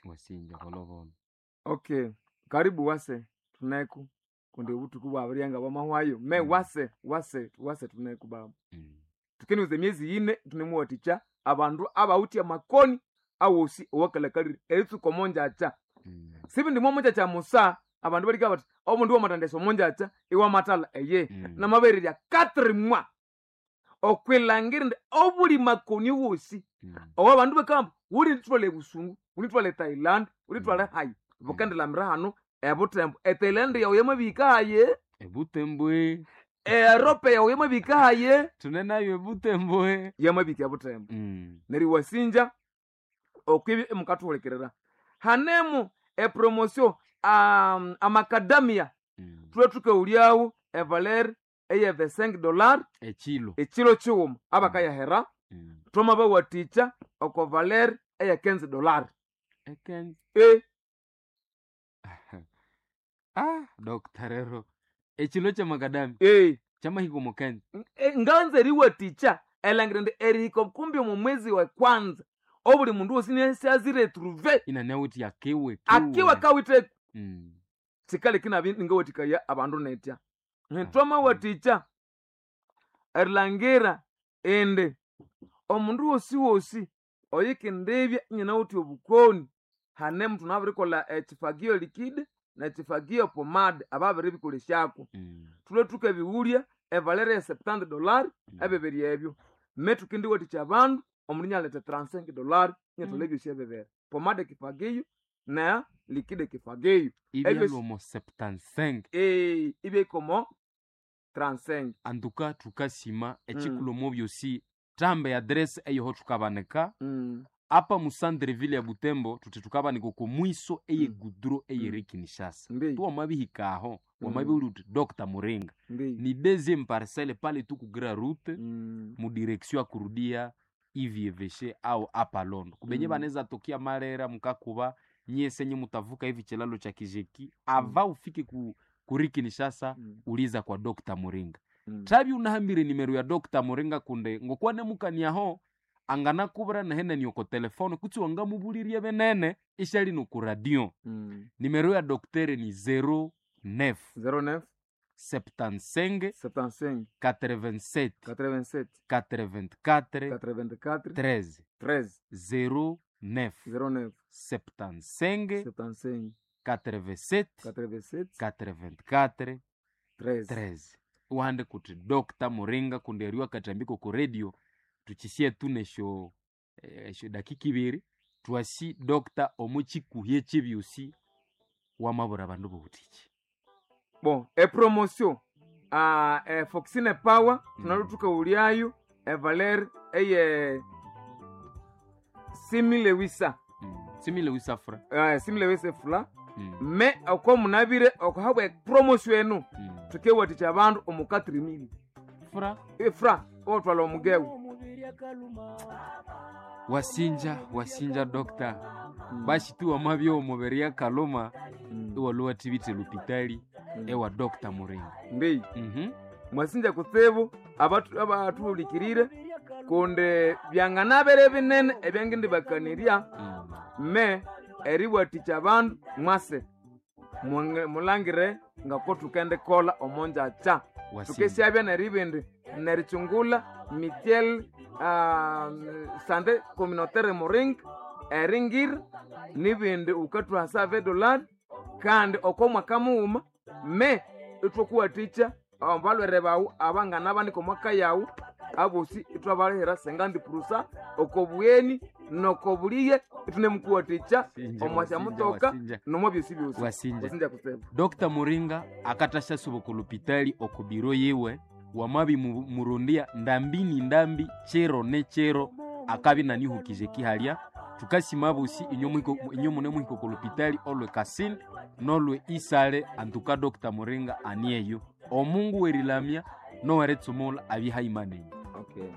Speaker 2: Wasinja bolobolo.
Speaker 1: Okay, karibu wase thuneku kundi obuthuku bwabiryanga bwamahwayo me
Speaker 2: Mm.
Speaker 1: wase wase wase thuneku baba.
Speaker 2: Mm.
Speaker 1: Thukenuza emyezi yine thunemuwathikya abandu abawithe amakoni awosi owakalhakalire eritsuka omonjakya.
Speaker 2: Mm.
Speaker 1: Sibindi mwomonjakya musa abandu balika bathi omundu wamathandesa omonjakya iwamathalha eye.
Speaker 2: Mm.
Speaker 1: Namabererya quatre mois okwilhangira indi obuli makoni wosi
Speaker 2: Mm.
Speaker 1: owa abandu bakamba wulithwala ebusungu wulithwala ethailand wulithwala
Speaker 2: Mm.
Speaker 1: hayi bukendilamira hanu ebutembo ethailand yawu yamabihika haye
Speaker 2: Ebutembwe
Speaker 1: erope yawu yamabihika haye
Speaker 2: thune nayo ebutembwe.
Speaker 1: yamabihika ebutembo.
Speaker 2: Mm.
Speaker 1: Neryo iwasinja okwibya imukathuhulikirira hanemu epromosio um, amakadamia
Speaker 2: Mm.
Speaker 1: thulwe thukaghulyawo evaler eye vingt-cinq dollar
Speaker 2: Ekilo.
Speaker 1: ekilo kighuma abakayahera
Speaker 2: Mm.
Speaker 1: thwamabawathikya oko valer eye quinze dollar.
Speaker 2: Eken.
Speaker 1: E
Speaker 2: Ah, Dokta rero. Ekilo kyamakadamia
Speaker 1: e
Speaker 2: kyamahika omo kenzi.
Speaker 1: E, nganza eriwathikya elangira indi erihika kumbi omo mwezi wa kwanza obuli mundu wosi niasyazire trouve
Speaker 2: Inanawuthi akiwe
Speaker 1: akiwe kawithe
Speaker 2: Mm.
Speaker 1: sikaleki nabi ningawathikaya abandu netya.
Speaker 2: Ah,
Speaker 1: Thwamawathikya erilhangira indi omundu wosi wosi oyikindibya inyinawithe obukoni hanemu thunabirikolha ekifagio likide nekifagio pomade ababiribikolesyako.
Speaker 2: Mm.
Speaker 1: Thulwe thukabighulya evalere ye septante dollar
Speaker 2: Mm.
Speaker 1: ebibiri ebyo me thukendiwathikya abandu omundu inyaletha trente-cinq dollar inyatholha
Speaker 2: Mm.
Speaker 1: ebyosi ebibiri pomade kifagio na likide kifageyo
Speaker 2: Ibyalwomo septante-cinq.
Speaker 1: Eh, ibyekomo trente-cinq.
Speaker 2: Antuka tukasima ekikulomo byosi tambe adresse eyoho tukabanika
Speaker 1: Mm.
Speaker 2: apa musandreville ya Butembo tuti tukabanika oko mwiso eye
Speaker 1: Mm.
Speaker 2: gudro eyeri Kinshasa.
Speaker 1: Ndi.
Speaker 2: Tuwamabihika aho
Speaker 1: Mm.
Speaker 2: wamabihuli uti Docteur Muringa
Speaker 1: Ndi.
Speaker 2: ni deuxième parcelle pale tu kugira route
Speaker 1: Mm.
Speaker 2: mu direction ya kurudia ivieveshe au apa Londo kubenye
Speaker 1: Mm.
Speaker 2: baneza tokia Marera mukakuba nyesenye mutavuka hivi chilalo cha Kijeki ava ufike ku, kuri Kinshasa
Speaker 1: Mm.
Speaker 2: uliza kwa Docteur Muringa.
Speaker 1: Mm.
Speaker 2: Tabi unahambire nimero ya Docteur Muringa kunde ngokuwa nemukaniaho anganakubura nahene nioko telefone kutsi wangamubulirie benene ishali noku radio.
Speaker 1: Mm.
Speaker 2: Nimero ya doktere ni zéro neuf
Speaker 1: zéro neuf
Speaker 2: septante-cinq
Speaker 1: septante-cinq
Speaker 2: quatre-vingt-sept
Speaker 1: quatre-vingt-sept
Speaker 2: quatre-vingt-quatre
Speaker 1: quatre-vingt-quatre
Speaker 2: treize.
Speaker 1: treize.
Speaker 2: zéro neuf
Speaker 1: zéro neuf
Speaker 2: septante-cinq
Speaker 1: septante-cinq
Speaker 2: quatre-vingt-sept
Speaker 1: quatre-vingt-sept
Speaker 2: quatre-vingt-quatre
Speaker 1: treize.
Speaker 2: treize. Uhande kuti Docteur Muringa kundi eriwa katambiko ku radio tuchisie tunesho esho dakika ibiri twasi Docteur omuchikuhye chibyusi wamabura bandu bobutiki.
Speaker 1: Bon, epromotion ah, e Foxine Power
Speaker 2: Mm.
Speaker 1: tunalutuka uliayo evaler eye simile wisa.
Speaker 2: mm. Simile wisafra.
Speaker 1: uh, simile wisa fula.
Speaker 2: mm.
Speaker 1: Me oko munabire okohabwa promotion enu
Speaker 2: mm.
Speaker 1: tukewatikya abandu omu quatre mille
Speaker 2: Fra
Speaker 1: efra otwala omugewu.
Speaker 2: Wasinja wasinja Docteur basi tu wamabya omubiri yakaluma
Speaker 1: Mm.
Speaker 2: iwaluwa tibite lupitali
Speaker 1: Mm.
Speaker 2: ewa Docteur Muringa.
Speaker 1: Mbi
Speaker 2: mm
Speaker 1: mwasinja kutsibu abatu- abatuhulikirire kundi byanganabere binene ebyangindibakaniria
Speaker 2: -hmm.
Speaker 1: me eriwatikya abandu mwase Mwange- mulangire ngako tukendikolha omonjakya.
Speaker 2: Wasinja.
Speaker 1: Tukesyabya neribindi nerichungula mitiel ah, sante communautaire Muringa eringira nibindi ukathuhasa vedolari kandi oko mwaka mughuma me ithwakuwathikya abalwere bawu abangana omwaka yawu abosi ithwabalihira sengandi purusa oko bugheni noko buliye ithunemukuwathikya
Speaker 2: Wasinja,
Speaker 1: omwasya
Speaker 2: wasinja,
Speaker 1: mutoka
Speaker 2: wasinja.
Speaker 1: nomwa byosi byosi.
Speaker 2: Wasinja.
Speaker 1: Wasinja kutsibu.
Speaker 2: Docteur Muringa akatasha ku lupitali oko biro yiwe wamabi mu- murundia ndambi ni ndambi chero ne chero akabi nanihukije kihalya tukasima bosi inyo mune muhiko ku lupitali olwe Kasini nolwe Isale antuka Docteur Muringa anieyo omungu werilamya noweretsumula abihaimanenyi.
Speaker 1: Okay.